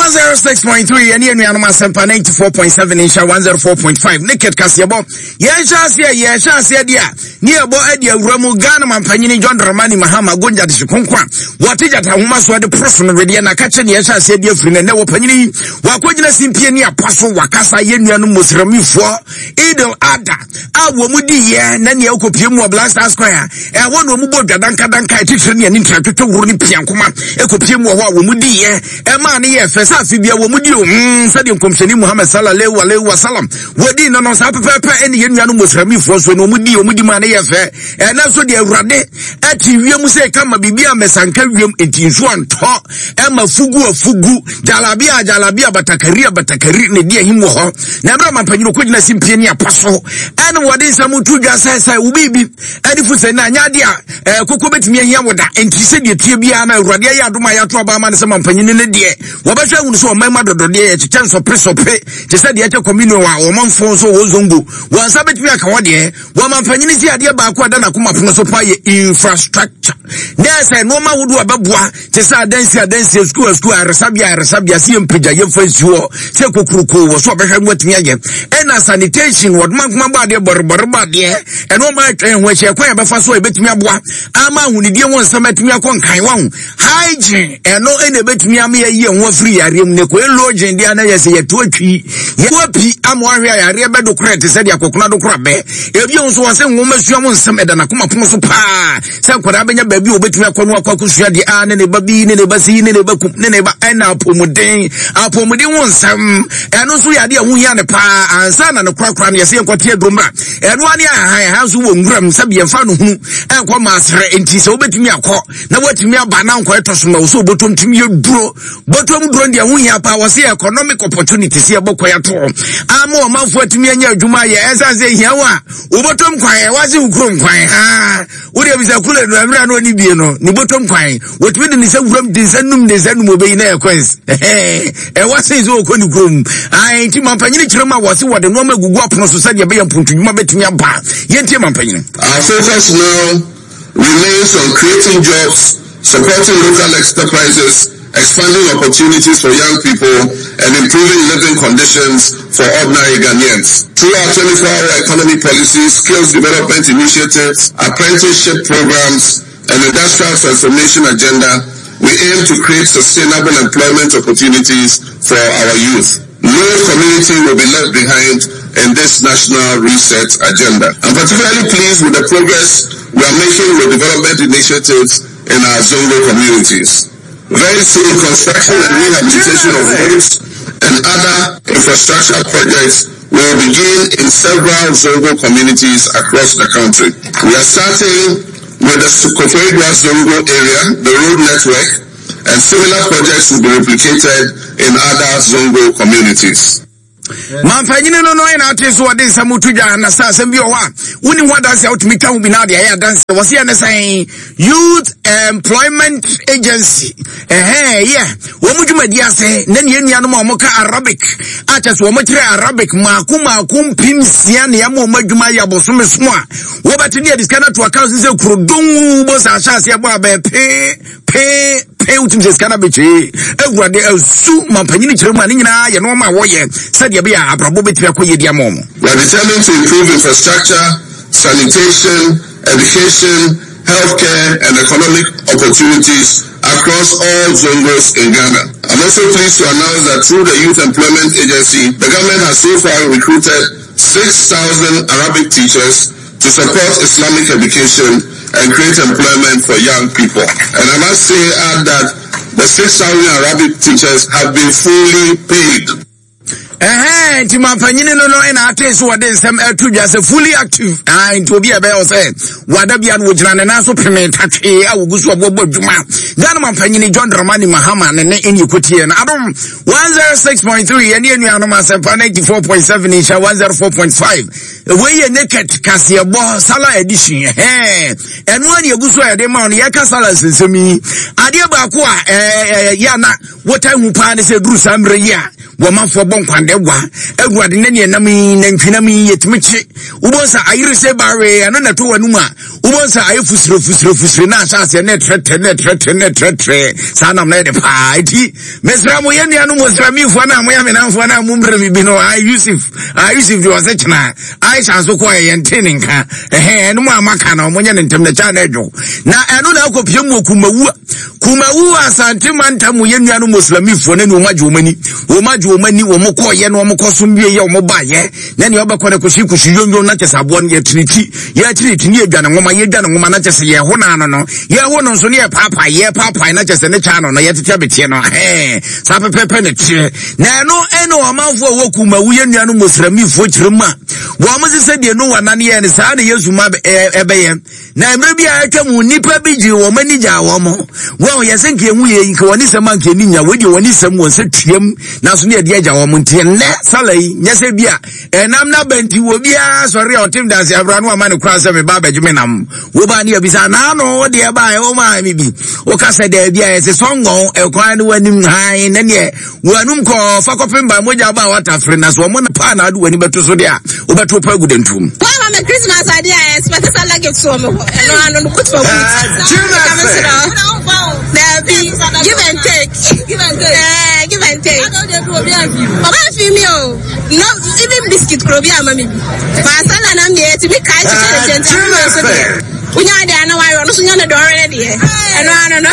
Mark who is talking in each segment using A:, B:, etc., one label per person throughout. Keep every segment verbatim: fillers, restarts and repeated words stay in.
A: one zero six point three yɛne anuanom Asɛmpa ninety four point seven, Nhyira one zero four point five. Naked kaseɛbɔ, yɛnhyɛ aseɛ yɛhyɛ aseɛ deɛ a ne yɛbɔ adi awura mu. Ghana mampanyini John Dramani Mahama gonja de hye a wɔte gyata ahoma so de poro so no wedeɛ na ka kyɛ ne yɛhyɛ aseɛ de afiri no. Ɛnɛ wɔpanyini yi wakɔgyina simpie ne apa so wakasa yɛn nuanom Musramifoɔ Idil Ada a wɔn mu di yɛ na nea ɛkɔpie mu wɔ Black Star Square ɛhɔ na wɔn bɔ dwa dankadanka ɛtitire ne ani ntratwetwe woro ne piankoma ɛkɔpie mu wɔ hɔ a wɔn mu di yɛ ɛmaa ne yɛ fɛ sɛ afe bia wɔn mu di o mm sɛdeɛ Nkɔmhyɛni Muhammad sallallahu alaihi wasallam wɔdi no no saa pɛpɛɛpɛ. Ɛne yɛn nuanom Musramifoɔ so na wɔn di wɔn di maa ne yɛ fɛ. Ɛnɛ nso deɛ, Awurade ɛte wiem sɛ kama biribi a mɛsanka wiem nti nsuo antɔ ɛma fugu afugu, jalabia jalabia, batakari batakari ne di ahim wɔ hɔ. Na ɛberɛ mampanyini kɔgyina simpie ne apa so ɛne wɔde nsɛm to dwa sɛ sɛ wo biribi ɛne fu sɛ na anyɛ adeɛ a ɛɛ koko bɛtumi ahia wo da. Nti sɛdeɛ tie biara na Awurade ayɛ adom a yɛato aba ama no sɛ mampanyini no deɛ, wɔbɛhwɛ ahunu sɛ ɔman mu adɔdɔdeɛ yɛkyekyɛ nsɔpesɔpe te sɛ deɛ ɛkyɛ communion a ɔmanfoɔ nso wɔ zongo wɔn nsa bɛtumi aka hɔ. Deɛ wɔmampanyini si adeɛ baako a ɛda n'akoma pono so pa yɛ infrastructure na ɛsɛ nneɛma ahodoɔ a ɛbɛboa te sɛ adansi adansi, sukuu sukuu, ayaresabea ayaresabea, sɛ yɛmpagya yɛmfa nsi hɔ sɛ kokuroko wɔ so ɔbɛhwɛ no watumi ayɛ, ɛna sanitation, wɔdoma nkoma bɔ adeɛ, bɔrebɔre bɔ adeɛ, ɛno ɔma atwa yɛn ho ahyia, kwan yɛbɛfa so a ɛbɛtumi aboa ama ahonidie ho nsɛm atumi akɔ nkan waho, hygiene, ɛno ɛna ɛbɛtumi ama yɛyi yɛn ho afiri yareɛ mu. Ne kɔɛ login deɛ na yɛ sɛ yɛto atwi yɛto api ama wahwɛ a yareɛ bɛdo korɛ te sɛ deɛ akɔkona do korɔ bɛ. Ebio nso wɔ sɛ nwoma sua mo nsɛm ɛda n'akoma pono so paa sɛ nkwadaa bɛnya baabi a wɔbɛtumi akɔ no akɔ akɔsua deɛ a ne ne ba bi ne ne ba si ne ne ba kum ne ne ba. Ɛna apɔmuden apɔmuden ho nsɛm, ɛno nso yɛ adeɛ a ho hia ne paa. Ansa na ne korakora no yɛsɛ yɛnkɔte aduro mmra, ɛno ane ahan ɛha nso wɔ nwuram sɛ yɛmfa no hunu ɛnkɔ maaserɛ. Nti sɛ wobɛtumi akɔ na woatumi aba na nkɔ ɛtɔ so ma wo sɛ wobɔtɔm tumi yɛ duro, bɔtɔm duro deɛ ho hia paa. Wɔ sɛ economic opportunity sɛ yɛbɔ kɔ yɛto ama ɔmanfoɔ atumi anya adwuma yɛ, ɛsiane sɛ hia wo a wobɔtɔm kwan ɛwɔ se wo kurom kwan ha wode bisa kule no mmerɛ na ɔne bie no ne bɔtɔm kwan wɔtumi de ne nsa wuram de nsa num de nsa num obɛyi na ɛyɛ coins ɛwɔ se sɛ wɔkɔ ne kurom. Nti mampanyini kyerɛ mu a wɔ se wɔde nneɔma agugu apono so sɛdeɛ ɛbɛyɛ mpontodwuma bɛtumi aba. Yɛntie mampanyini.
B: Our focus now remains on creating jobs, supporting local enterprises, expanding opportunities for young people, and improving living conditions for ordinary Ghanaians. Through our twenty-four-hour economy policies, skills development initiatives, apprenticeship programs, and industrial transformation agenda, we aim to create sustainable employment opportunities for our youth. No community will be left behind in this national reset agenda. I'm particularly pleased with the progress we are making with development initiatives in our Zongo communities. Very soon, construction and rehabilitation of roads and other infrastructure projects will begin in several Zongo communities across the country. We are starting with the Koforidua Zongo area, the road network, and similar projects will be replicated in other Zongo communities.
A: Mamfanyini no no ɛna ate so wɔde nsɛm to dwa na sɛ asɛm bi wɔ hɔ a woni ho adanse a wotumi twa ho bi na ade ayɛ adanse. Wɔ se yɛ ne sɛn Youth Employment Agency ɛhɛn yɛ wɔn mu dwumadi ase na ne nuanom a wɔka Arabic a kyɛ sɛ wɔn kyerɛ Arabic maako maako mpem nsia ne yɛma wɔn adwuma yɛ abosome so a wɔbɛte ne yɛde sika no ato account sɛ kurodon bɔ sɛ ahyɛ aseɛ bɔ abɛɛ pee pee pee, wotumi sɛ sika no abɛkyee. Awurade asu mampanyini kyerɛ mu a ne nyinaa yɛ nneɛma a wɔyɛ sɛdeɛ ɛbɛyɛ a abrabɔ bɛtumi akɔ yie di ama wɔn.
B: We are determined to improve infrastructure, sanitation, education, healthcare, and economic opportunities across all Zongos in Ghana. I'm also pleased to announce that through the Youth Employment Agency, the government has so far recruited six thousand Arabic teachers to support Islamic education and create employment for young people. And I must say, add that the six thousand Arabic teachers have been fully paid.
A: Ɛhɛn nti mampanyini no no ɛna ate so wɔde nsɛm ɛto dwa sɛ fully active. Ah, nti obi a ɛbɛyɛ wɔ sɛ wada bia no wɔgyina ne nan so peme tatwee a wɔgu so ɔbɔbɔ adwuma. Ghana mampanyini John Dramani Mahama ne ne ɛne ɛkɔtie no Adom one oh six point three, yɛne anuanom Asɛmpa ninety-four point seven, Nhyɛ one oh four point five. Wei yɛ Naked kaseɛbɔ Sala edition. Ɛhɛn ɛno a ne ɛgu so a yɛde ma wo no. Yɛka sala nsɛnsɛm yi, adeɛ baako a ɛɛ yɛ ana wɔta hu paa ne sɛ duru saa mmerɛ yi a wɔmanfoɔ bɔ nkwandɛ wa. Awurade, ne neɛ nam yi nantwinam yi yɛtumi kye wobɔ sɛ ayere sɛ bawe ɛno na ɛto w'anom a wobɔ sɛ ayɛ fusire fusire fusire na ahyɛ aseɛ na ɛtrɛtrɛ na ɛtrɛtrɛ na ɛtrɛtrɛ saa nam na yɛde paa. Enti mesrɛ mo, yɛn nuanom Muslimfoɔ no a moyɛ menamfoɔ no a mommerɛ me bi no, a Yusuf a Yusuf deɛ ɔsɛ kyena Aisha nso kɔɛ yɛnte ne nka ɛhɛn ɛno mu a maka no monyɛ ne ntɛm na kya na adwo na ɛno na akɔpie mu wɔ Kumawu Kumawu Asante mantam mu yɛ nuanom Muslimifoɔ no ne wɔn agye wɔn ani wɔn agye wɔn ani wɔn kɔɔyɛ na wɔn kɔsom wie yɛ wɔn baayɛ na nea ɔbɛkɔ no kɔsi kɔsi yonyon na kyɛ sɛ aboɔ no yɛtiri ti yɛtiri ti ne yɛdwa ne nwoma yɛdwa ne nwoma na kyɛ sɛ yɛho no ano no yɛho no nso ne yɛpaapae yɛpaapae na kyɛ sɛ ne kya no no yɛtete abeteɛ no hɛn saa pɛpɛpɛ ne teɛ na ɛno ɛne ɔmanfoɔ a wɔ Kumawu yɛ nuanom Muslimifoɔ kyerɛ mu a wɔn sɛ sɛdeɛ Noa nane yɛ no saa na Yesu ma ɛbɛyɛ. Na mmerɛ bi a atwa mu nnipa bi gyee wɔn ani gyaa wɔn mo. Wɔn yɛ sɛ nka ehu yɛ nka wɔn nisɛm anka ani nya wɔn deɛ wɔn nisɛm wɔn sɛ tuam nanso ne yɛde agya wɔn nti nnɛ sala yi nyɛ sɛ bi a ɛnam n'aba nti wɔ biara sɔre a ɔtem danse abira no ama ne kora sɛ meba abɛgye me nam woba ne yɛbisa naano wo deɛ ba ɛwɔ maa me bi woka sɛ daabi a yɛsɛ sɔngɔn ɛkwan no w'anim hann ne neɛ w'anum kɔɔ fa kɔpem ba mogya ba a watafere na so ɔmo na paa na ade w'ani bɛto so deɛ a wobɛto pa agu dantum.
C: Wɔn ama Christmas adeɛ a expect sɛ luggage so wɔn hɔ ɛno ano no put for boot. Daabi, give and take. Give and take. Eh, give and take. Ɔba fi mi o. No, even biscuit kuro bi ama mi bi. Baasala nam deɛ ti mi ka kyekyɛ ne kyɛn ti mi nso deɛ. Wonya deɛ ano wayɛ ɔno so nya ne dɔɔre ne deɛ. Ɛno ano no.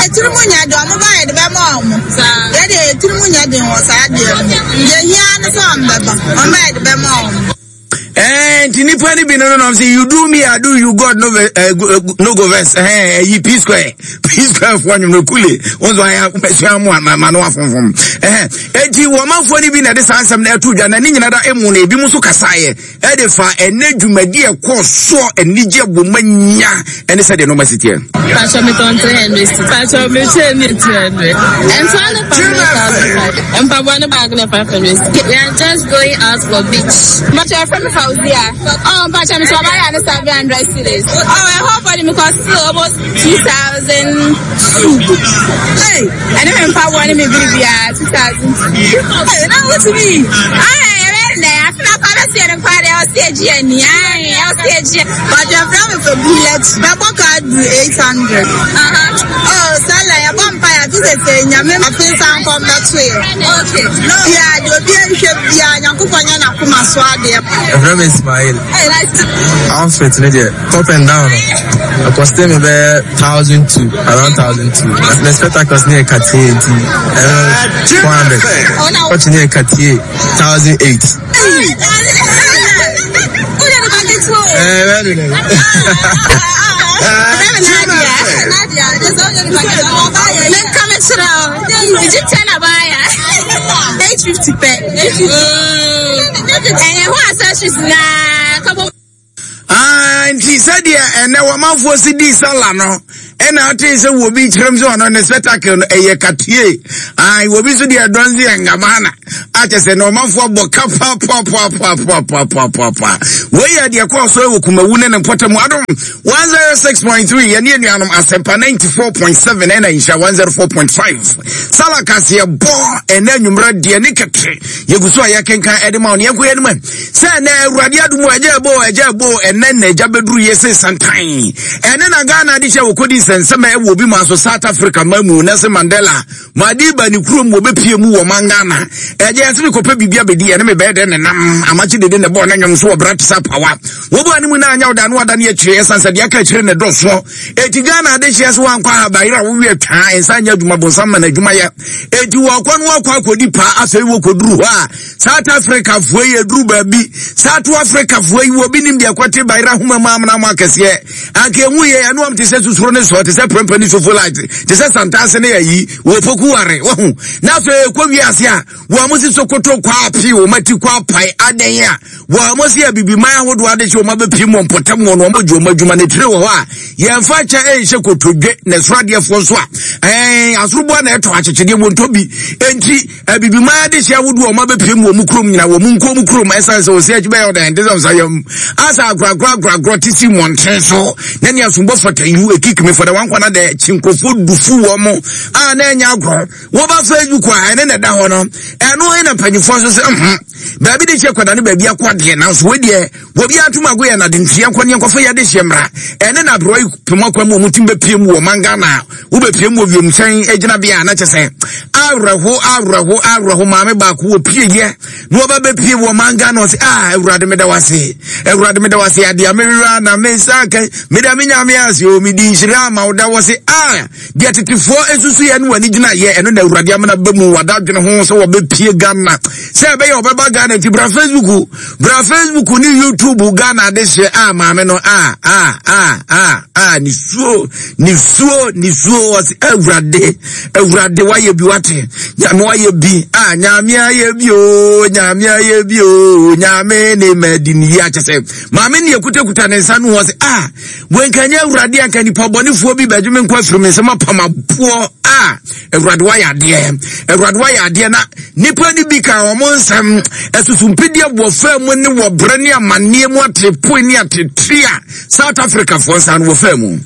D: Etiri mu nya deɛ ɔmo ba yɛ de bɛ ma ɔmo. Yɛ deɛ etiri mu nya deɛ wɔ saa deɛ no. Deɛ hia ne sɛ ɔmo bɛba. Ɔmo ba yɛ de bɛ ma ɔmo.
A: Eh, nti nipa ni bi no no say you do me I do you God no uh, no go verse eh eh P square P square for anyum no kule wonso aya mesua mo ma no afomfom eh enti wo manfo ni bi na de sansam na eto dwa na ni nyina da emu na ebi mu so kasaye e de fa ene dwumadi e kɔ so anigye bomanya ene sɛ de no masitie
E: Pastor me ton three hundred Pastor me three hundred and so no five hundred bag na five hundred. We are just going out for beach.
C: But your friend Fauzia. Oh, but I'm so buy an seven hundred cedis. Oh, I hope for them because still almost two thousand two. Hey, I don't remember one me be two thousand. Hey, now what to me? I I feel like I see the party. I see a G N I see a G.
D: But your friend with a bullet. My card eight hundred. Uh-huh. Oh, Sala, your vampire. This is a nyame. I feel some from that way.
C: Okay.
D: No, yeah, you'll be a ship. Yeah, Yankupanya Nakuma Swadi.
F: Your name is Ismail. Outfit, top and down. I cost me about thousand two, around thousand two. The spectacles near Cartier, four hundred. Watch near Cartier, thousand eight.
C: Eight fifty
A: Ah, nti sɛdeɛ ɛnɛ wɔmanfoɔ si dii sala no ɛna ate sɛ wɔbi kyerɛm sɛ ɔno ne spectacle no ɛyɛ katie ah, wɔbi nso deɛ ɛdɔn sɛ yɛ ngamana akyɛ sɛ na ɔmanfoɔ bɔ ka papapapapapapaapa wei yɛ deɛ kɔɔ so ɛwɔ Kumawu ne ne mpɔtam Adom one oh six point three yɛne anuanom Asɛmpa ninety-four point seven ɛna Nhyira one oh four point five sala kaseɛ bɔ ɛnɛ anwummerɛ deɛ ne kɛte yɛgu so a yɛkenkan ɛde ma wo ne yɛnkɔ yɛnom sɛ ɛnɛ Awurade adom ɛgya ɛbɔ ɛgya ɛbɔ ɛnɛ na ɛgya bɛduru yɛ sɛ santan ɛne na Ghana de hyɛ wɔkɔdi nsɛnsɛm a ɛwɔ obi ma so South Africa ma mu Nelson Mandela Madiba ne kurom wɔbɛpie mu wɔ man Ghana ɛgya ɛsɛ mekɔpɛ biribi abɛdi ɛne mebɛyɛ dɛ ne nam amakye dede ne bɔɔ ne nwom so wɔ bra te sɛ pawa wɔbɔ anim na anya woda no wada ne akyire ɛsiane sɛ deɛ aka akyire ne dɔsoɔ ɛti Ghana de hyɛ sɛ wankɔ ahabayerɛ a wowie twaa ɛnsa nyɛ adwuma bonsam ma no adwumayɛ ɛti wɔkɔ no wɔkɔ akɔdi paa afei wɔkɔduru hɔ a South Africa foɔ yi aduru baabi South Africa foɔ yi wɔbi nim deɛ kɔte bayerɛ ahoma mu amena mu akɛseɛ anka emu yɛ ɛno am te sɛ susuro ne sɔ te sɛ prɛmpɛ ne sofo light te sɛ santase ne ayi wɔ poku ware wahu na afei kɔ wiase a wɔn mo si sokoto kɔ api wɔn ati kɔ apae adan a wɔn mo si abibiman ahodoɔ ade hyɛ wɔn abɛpie mu mpɔtam wɔn wɔn gye wɔn adwuma ne tiri wɔ hɔ a yɛmfa kyɛ ɛnhyɛ kotodwe na ɛsoro adeɛfoɔ nso a ɛɛ asoroboa na ɛtɔ akyekyedeɛ wɔn ntɔ bi enti abibiman ade hyɛ ahodoɔ wɔn abɛpie mu wɔn kurom nyina wɔn nkurom kurom ɛsan sɛ wɔsi akyi bɛyɛ ɔdan ɛnte sɛ ɔsa yam asa akoragora akoragora te si mmɔnten so na ne asombɔ fata yu ekikimi fɔdɛ wɔn akɔ na dɛ kyi nkurɔfoɔ dufu wɔn mo a na ɛnyɛ agorɔ wɔba Facebook a ɛne na ɛda hɔ no ɛno ɛna mpanyinfoɔ nso sɛ nhun Baabi de hyɛ kwada ne baabi akɔ adeɛ nanso wei deɛ wɔbi atom ago yɛ nade nteɛ nkɔ ne nkɔfa yɛde hyɛ mmara ɛne na aberɛ yi pem akwa mu ɔmo tim bɛpie mu wɔ man Ghana wobɛpie mu wɔ wiemhyɛn gyinabea a na kyɛ sɛ awerɛho awerɛho awerɛho maame baako wɔ pie yɛ na wɔba bɛpie wɔ man Ghana ɔse ah Awurade meda wase Awurade meda wase adeɛ a mewura na me nsa ka meda me Nyame ase o medi nhyira ama wo da wɔ se ah deɛ tetefoɔ esusu yɛ no w'ani gyina yɛ ɛno na Awurade amena ba mu wada adwene ho sɛ wɔbɛpie Ghana sɛ ɛbɛyɛ wɔbɛba Ghana nti bra Facebook bra Facebook ne YouTube Ghana de hyɛ a maame no a a a a a ne suo ne suo ne suo ɔse Awurade Awurade wayɛ bi wate Nyame wayɛ bi a Nyame ayɛ bi o Nyame ayɛ bi o Nyame ne madi ne yi akyɛ sɛ maame ne ekutakuta ne nsa no ɔse a wenkanya Awurade anka nipa bɔnefoɔ bi bɛdwe me nkɔ afiri me nsɛm apam aboɔ a Awurade wayɛ adeɛ Awurade wayɛ adeɛ na nipa ni bi ka wɔn nsɛm ɛsusumpidie wɔ fam mu ne wɔ brɛ ne amanneɛ mu atepoe ne atetwe a South Africa foɔ nsa no wɔ fam mu.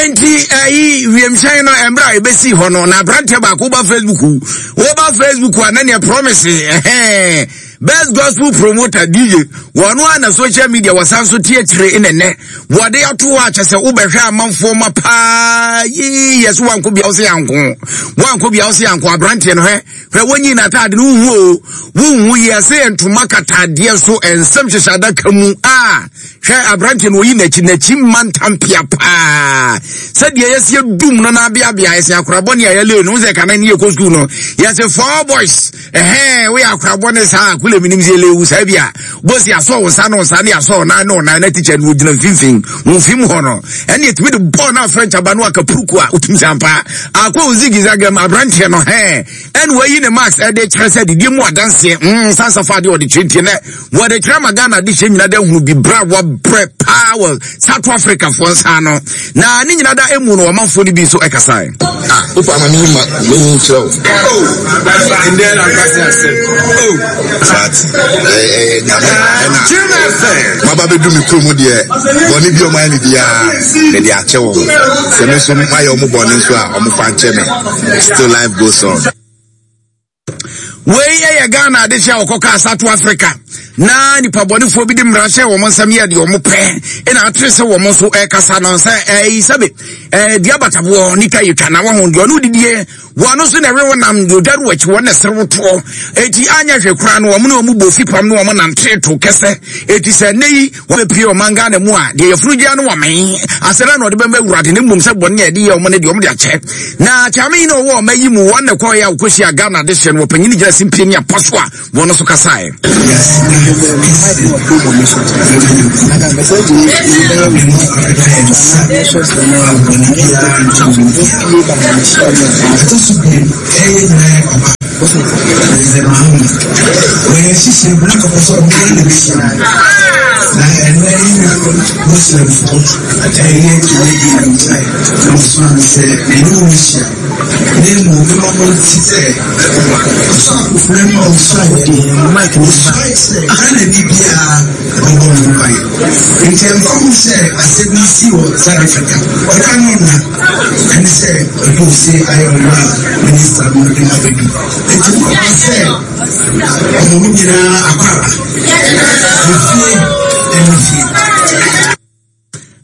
A: Enti ayi wiemhyɛn no embra ebesi hɔ no na abrante baako ba Facebook wo ba Facebook a na ne promise eh best gospel promoter D J wɔno a na social media wɔsan so tie kyerɛ ene wɔde ato a kyɛ sɛ wobɛhwɛ amanfoɔ ma paa yi yɛso wanko bia wo sɛ yanko wanko bia wo sɛ yanko abrante no hwɛ hwɛ wonyi na atade no wuhu o wuhu yɛ sɛ ntoma katadeɛ so nsɛm hyehyɛ adaka mu a hwɛ abrante no oyi n'akyi n'akyi mantampia paa sɛdeɛ yɛsi dum no na abeabea yɛsi akorabɔ ne ayɛle no sɛ kana ne yɛkɔ sukuu no yɛsi four boys ɛhɛn woyɛ akorabɔ ne saa akule mi nim sɛ elewu saa bi a bosi asɔ wo nsa no nsa ne asɔ nan no nan na teacher no ogyina mfimfin mfim hɔ no ɛne etumi de bɔɔl na French aba no aka puruku a otumi sampa akɔ ozigizagam abrante no hɛn ɛne wayi ne max ɛde kyerɛ sɛ didi mu adanseɛ mm sansa fa de ɔde kyerɛ nɛ wɔde kyerɛ ma Ghana de hyɛ nyina da hunu bi bra wɔbrɛ paa wɔ South Africa foɔ nsa no na ne nyina da emu no ɔmanfoɔ no bi nso ɛkasae.
B: Ah, wofa ma me ma me nkyerɛ wo. Oh, and then I got oh, but eh eh nyame ɛna maba bɛdu me kurom deɛ bɔne bi ɔma ne biara me de akyɛ wo sɛ me nso mayɛ ɔmo bɔne nso a ɔmo fa nkyɛ me. Still life goes on.
A: Wei yɛ Ghana de hyɛ ɔkɔka South Africa na nipa bɔnefoɔ bi de mmara hyɛ wɔn nsɛm yɛ deɛ wɔn pɛ ɛna atere sɛ wɔn nso ɛkasa no sɛ ɛyi sɛbe ɛɛ deɛ abataboɔ nika yɛ twa na wɔn ho deɛ ɔno didie wɔn nso na ɛwe wɔn nam deɛ ɔdware wɔ akyi wɔn na ɛsere wotoɔ eti anya hwɛ kura no wɔn ne wɔn bɔ fipam ne wɔn nante to kɛsɛ eti sɛ ne yi wɔn bɛpie ɔman Ghana mu a deɛ yɛfuru gya no wɔn mɛn asɛrɛ na ɔde bɛmɛ Awurade ne mmom sɛ bɔne a yɛde yɛ wɔn ne deɛ wɔn de akyɛ na kyame yi na ɔwɔ ɔma yi mu wɔn na kɔɔ yɛ a wɔkɔhyia Ghana de hyɛ no wɔpanyin gyina simpie ne apɔ so a wɔn nso kasaeɛ.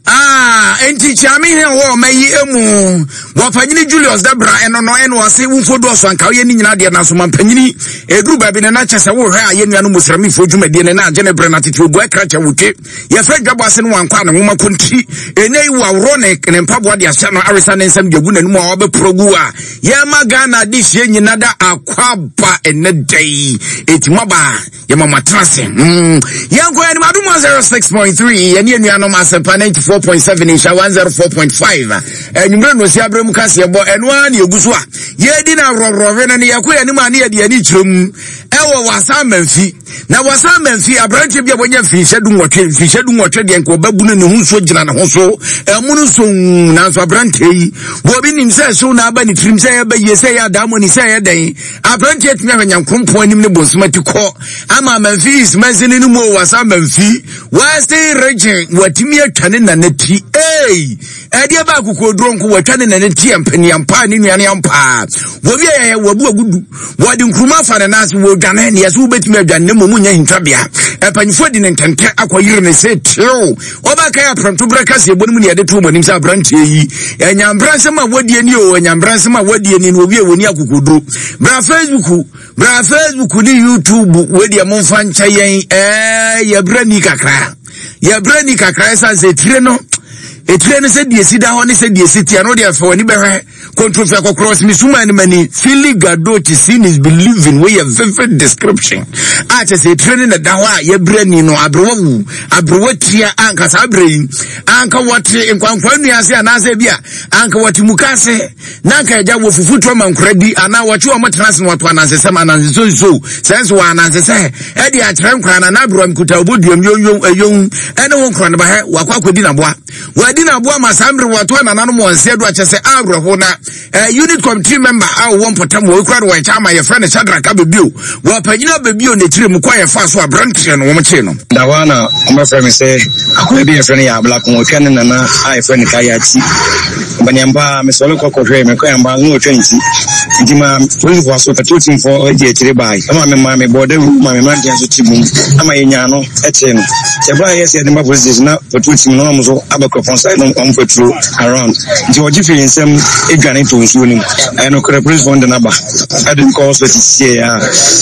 A: Ah, enti chiami he wo mayi emu wapanyini Julius Debra eno no eno ase wumfo do so anka ye ni nyina de na so mampanyini eduru ba bi na na kyese wo hwe aye nua no musramifo dwumadie ne na agye ne bre na tete ogu akra kya wotwe ye fre dwabo ase no wankwa ne nwoma kontri enei wo awro ne ne mpaboa de ahyɛ no aresa ne nsɛm de agu n'anum a wabɛprogu a ye ma Ghana de hye nyina da akwaba ene dai etimaba ye mama trase mm yanko ani madum one oh six point three ye ne nuanom Asempa ninety-four point seven insha one zero four point five anwummerɛ no si aberɛ mu kaseɛ bɔ ɛno ara ne ɛgu so a yɛdi no aworɔworɔwe no ne yɛkɔ yɛn anim a ne yɛde ani kyerɛ mu ɛwɔ Wasa Amanfi. Na Wasa Amanfi aberanteɛ bi a wɔnya mfinhyɛ du nwɔtwe, mfinhyɛ du nwɔtwe deɛ nka ɔbɛbunu ne ho nsuo gyina ne ho so ɛmu no nso, nanso aberanteɛ yi wɔbi nim sɛ ɛhyew na aba ne tirim sɛ ɛyɛ bɛyie, sɛ ɛyɛ adaamɔni, sɛ ɛyɛ dɛn. Aberanteɛ tumi ahwɛ Nyankoropɔn anim ne bonsoma ti kɔ ama Amanfi East mansini no mu o, Wasa Amanfi Western Region, watumi atwa ne nana ti. Ei, ɛdeɛ ba akokoduro nko, watwa ne nana ti mpaniampa ne nuane ampa. Wɔwi ɛyɛ wabu agudu, wɔde nkuruma afa ne nan ase, wɔdwane ne yɛsɛ wobɛtumi adwane ne mmom nyɛ hintabea. Ɛpanyinfoɔ di ne ntɛntɛ akɔyere ne sɛ tew ɔbɛka yɛ aprɛnto berɛ kaseɛ bɔ no mu ne yɛde to wɔn anim sɛ aberanteɛ yi ɛnyambra nsɛm a wadie ni o, ɛnyambra nsɛm a wadie ni no wɔwie wɔni akokoduro. Bra Facebook, bra Facebook ne YouTube, wɔdeɛ momfa nkyɛ yɛn, ɛɛ yɛbrɛ ni kakra, yɛbrɛ ni kakra, ɛsiane sɛ etire no etire no sɛ deɛ si da hɔ ne sɛ deɛ si tia no deɛ fɛ w'ani bɛhwɛ kontrofia kɔkɔrɔ simi ne mani Philly Gadochi, seeing is believing, wey yɛ vivid description a kyɛ sɛ etire no na da hɔ a yɛbrɛ ni no, aberewa wu aberewa tia anka saa aberɛ yi anka wɔte nkwankwa nnua ase anaasɛ bi a anka wɔte muka ase na anka agya wɔ fufu to ama nkora di anaa wɔkye wɔn tena ase na wɔto anansesɛm anansesonso sɛ nso wɔ anansesɛ ɛde akyerɛ nkora na n'aberewa nkuta oboduam yonyom ɛyom ɛne wo nkora no ba hɛ wakɔ akɔdi n'aboa wɔadi n'aboa ma saa mmere wɔto anananom wɔn nsa do akyɛ sɛ awerɛho na eh, unit committee member a wɔwɔ mpɔtam wɔ ekura no wɔn kyɛn ama yɛfrɛ no Shadrack Abebio wɔpanyina Abebio n'akyire mu kɔ a yɛfa so aberanteɛ no wɔn kyee no.
G: Da hɔ a na ɔmɛfrɛ me sɛ akɔyɛ bi yɛfrɛ no yɛ Ablako, ɔtwa ne nana a yɛfrɛ no Kayati baniampa. Mesɔre kɔ kɔhwɛ mekɔ yamba na ɔtwa ne ti, nti ma polisifoɔ aso patrol teamfoɔ agye akyire bae ama me ma mebɔɔ dawuro ma me mmeranteɛ nso te mum ama yɛnyaa no kyee no. Sɛ ɛberɛ a yɛyɛ sɛ yɛde ba police station na patrol team no na ɔmo nso aba kuropɔn side no, ɔmo patrol around, nti ɔgye firi nsɛm adwane to nsuo no mu. Ɛyɛ nokorɛ, polisifoɔ no de no aba ɛde no kɔ hospital sieɛ a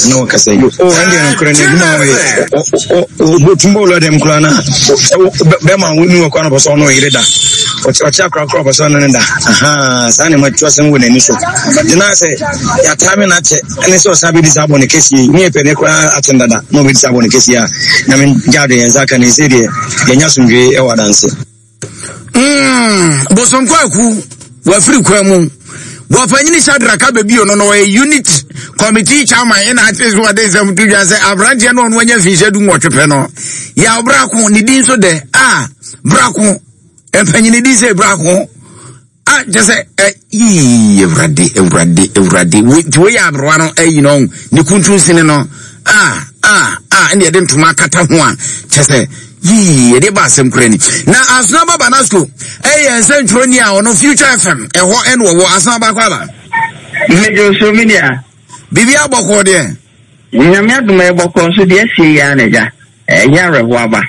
G: na wɔkasa yi o, ɛndeɛ nokorɛ no adwuma a ɔyɛ ɔtum bɔ wura dɛm koraa na bɛma wo ni wɔ koraa na ɔpɛ sɛ ɔno ɔyere da ɔkyɛ akora koraa ɔpɛ sɛ ɔno ne da aha saa nneɛma tu asɛm wɔ n'ani so gyina sɛ yɛataa me n'akyɛ ɛne sɛ ɔsan bɛdi saa bɔne kɛseɛ yi ne yɛpɛ ne koraa akyɛn dada na ɔbɛdi saa bɔne kɛseɛ a Nyame gya do yɛn nsa ka ne sɛ deɛ yɛnya asomdwee ɛwɔ adanse.
A: Mm, Bosonkɔ aku wafiri kwan mu wɔpanyini Shadrack Abebio no no ɔyɛ unit committee chairman ɛna ate so wɔde nsɛm to dwa sɛ aberanteɛ no ɔno anya mfinhyɛ du nwɔtwe pɛ no yɛ brako ne din so dɛ a brako mpanyini din sɛ brako a kyɛ sɛ ɛ yii Awurade Awurade Awurade nti woyɛ aberewa no ayi no ne kuntun sini no a a a ɛna yɛde ntoma akata ho a kyɛ sɛ yii yɛde ba asɛm kura ni. Na Asonaba Banasco ɛyɛ nsɛntwerɛni a ɔno Future F M ɛhɔ ɛna wɔwɔ. Asonaba, akɔ aba.
H: Mmedwo so, mi nua.
A: Biribi abɔkɔɔ deɛ?
H: Nyame adom, ɛbɔkɔ nso deɛ asie yi ara na agya ɛnyɛ awerɛhoɔ aba.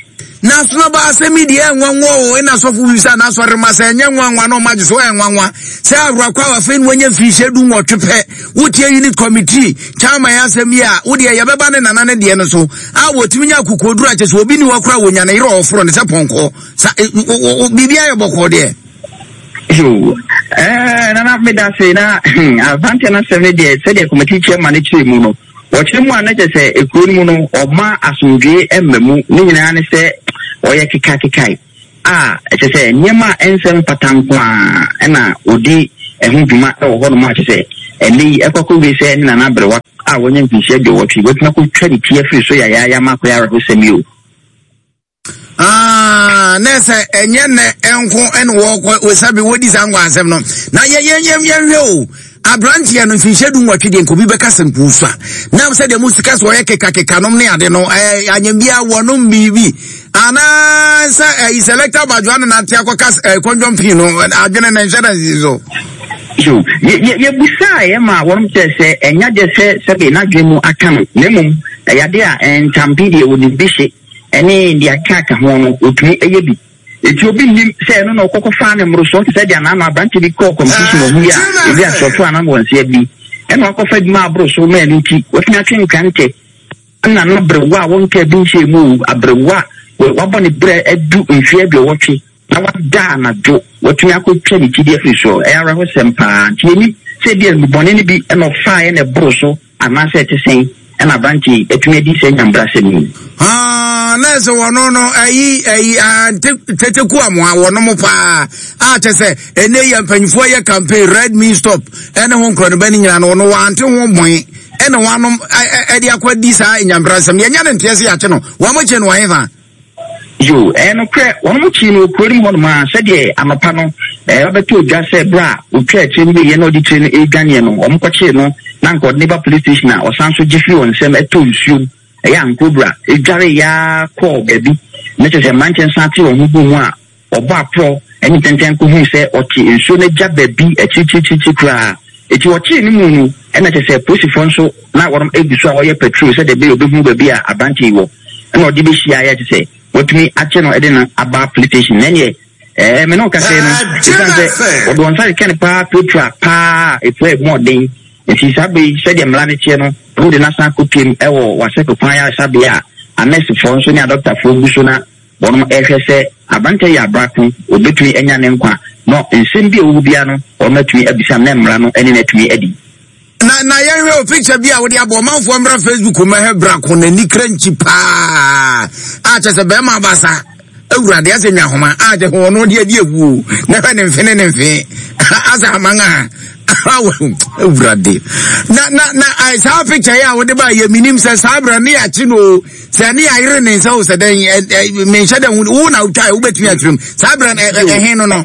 A: Na Asonaba, asɛm yi deɛ ɛnwanwa o, ɛna sɔfo bi sɛ anasɔre ma sɛ ɛnyɛ nwanwa na ɔma gye so ɛnwanwa sɛ awurakɔ a afei no wanya mfirinhyia du nwɔtwe pɛ wotie unit committee chairman asɛm yi a wodeɛ yɛbɛba ne nana ne deɛ no so a wɔtumi nya akokoduru akyɛ sɛ obi ni hɔ koraa wɔnya ne yerɛ ɔforo ne sɛ pɔnkɔ sa biribi ayɛ bɔkɔɔ deɛ.
H: Yo, ɛɛ nana, meda se na aberanteɛ no asɛm no deɛ, sɛdeɛ committee chairman no kyerɛ mu no, wɔkyerɛ mu a na kyerɛ sɛ ekuro no mu no ɔma asomdwee mma mu ne nyinaa ne sɛ ɔyɛ kekakekae a ɛkyɛ sɛ nneɛma a ɛnsɛ mfata nko a ɛna ɔdi ɛho dwuma ɛwɔ hɔnom a kyerɛ sɛ ɛnɛ yi ɛkɔ akɔwie sɛ ne nana aberewa a wɔnya mfinhyia aduɔwɔtwe wɔatumi akɔtwa ne ti afiri so yayaaya ma akɔyɛ awerɛhosɛm yi o.
A: Ah, na sɛ ɛnyɛ nnɛ nko ɛna wɔkɔ wɔsabi wɔdi saa nkwa asɛm no na yɛ yɛ yɛ yɛhwɛ o, aberanteɛ no mfinhyia du nwɔtwe deɛ nkobi bɛka sɛ nkuusu a na sɛ deɛ mo sika sɛ ɔyɛ kekakeka nom ne ade no ɛɛ anyambia wɔnom biribi anaasɛ ɛyi selector badwoa no nante akɔka ɛɛ kɔndɔm pii no adwene ne nhyɛ na nsi so.
H: So yɛbusaa yɛ ma wɔnom kyerɛ sɛ ɛnya deɛ sɛ sɛbe n'adwene mu aka no, na mmom ɛyɛ adeɛ a ntampe deɛ wɔnim bi hye ɛne deɛ aka aka ho no wɔtumi ɛyɛ bi, eti obi nnim sɛ ɛno na ɔkɔkɔ faa ne mmorosoɔ te sɛ deɛ anaano aberante bi kɔɔ competition wɔ ho yi a ebi asɔto anan wɔn nsa bi ɛna wakɔfa adwuma aboro so ma ɛno nti watumi atwe nkrantɛ ɛna no aberewa a wɔnka bi nhyɛ mu o, aberewa a wabɔ ne berɛ adu mfeɛ aduɔwɔtwe na wada anadwo watumi akɔtwa ne ti de afiri soɔ. Ɛyɛ awerɛhosɛm paa, nti yɛnim sɛ bi a nnubɔne no bi ɛna ɔfaeɛ na ɛboro so anaasɛ ɛte sɛn. Ɛna aberante yi atumi adi sɛ nyambrasɛm yi.
A: Ah, na sɛ wɔno no ayi ayi tete ku amoa wɔnom paa a kyɛ sɛ ɛnɛ yɛ mpanyinfoɔ yɛ campaign red mean stop ɛne ho nkorɔ no bɛ ne nyina no wɔno wɔante ho bɔn ɛna wɔanom ɛde akɔdi saa nyambrasɛm yɛnya ne nteɛ sɛ yɛakye no wɔn kye no wɔn hefa.
H: Yo, ɛyɛ nokorɛ, wɔnom kyee no wɔ kuro no mu hɔnom a, sɛdeɛ anɔpa no, ɛɛ, wabɛtɔ odwa sɛ berɛ a ɔtwaa tire no wieeɛ na ɔde tire no redwaneɛ no, wɔn kɔkyee no na anka ɔde no ba police station a ɔsan nso gye firi wɔn nsam tɔɔ nsuom, ɛyɛ ankorobra, dwareeɛ ara kɔɔ baabi, na kyerɛ sɛ mmeranteɛ no san tee wɔn ho guu mu a wɔbɔ aporɔ ne ntɛntɛn kɔhuu sɛ ɔte nsuo no agya baabi akyirikyirikyirikyiri koraa. Enti wɔkyee no mu no, ɛna kyerɛ sɛ polisifoɔ nso na wɔnom gu so a wɔyɛ patrol sɛdeɛ ɛbɛyɛ wɔbɛhunu baabi a aberanteɛ yi wɔ. Ɛna ɔde bɛhyiaeɛ a kyerɛ sɛ wɔatumi akye no de no aba police station. Na ɛneɛ ɛɛ me ne wo kasa yi no, ɛsiane sɛ wɔde wɔn nsa keka no paa pirapira paa a ɛpira ɛmu ɔden. Nti saa berɛ yi sɛdeɛ mmara no teɛ no, wɔde no asan akɔpiem wɔ Wasɛko kwan ayaresabea a anɛsefoɔ nso ne adɔktafoɔ gu so na wɔnom rehwɛ sɛ aberanteɛ yi abrako, wɔbɛtumi anya ne nkwa, na nsɛm bi a ɛwɔ hɔ biara no wɔnom atumi abisa no na mmara no ne no atumi adi.
A: Na na yɛnhwɛ o picture bi a wode abɔ ɔmanfoɔ mmra Facebook mmɛhwɛ brako n'ani kra nkyi paa a kyɛ sɛ bɛrima abasa awurade asɛ nwa ahoma a kyɛ sɛ ɔno de adi awuo na hwɛ ne mfe ne ne mfe asɛ aman a awurade na na na saa picture yi a wode ba yɛ menim sɛ saa berɛ ne yɛakye no o sɛ ne yɛayere ne nsa o sɛ dɛn menhyɛ dɛ wo na wotwa wobɛtumi akyerɛ mu saa berɛ ɛhe no no.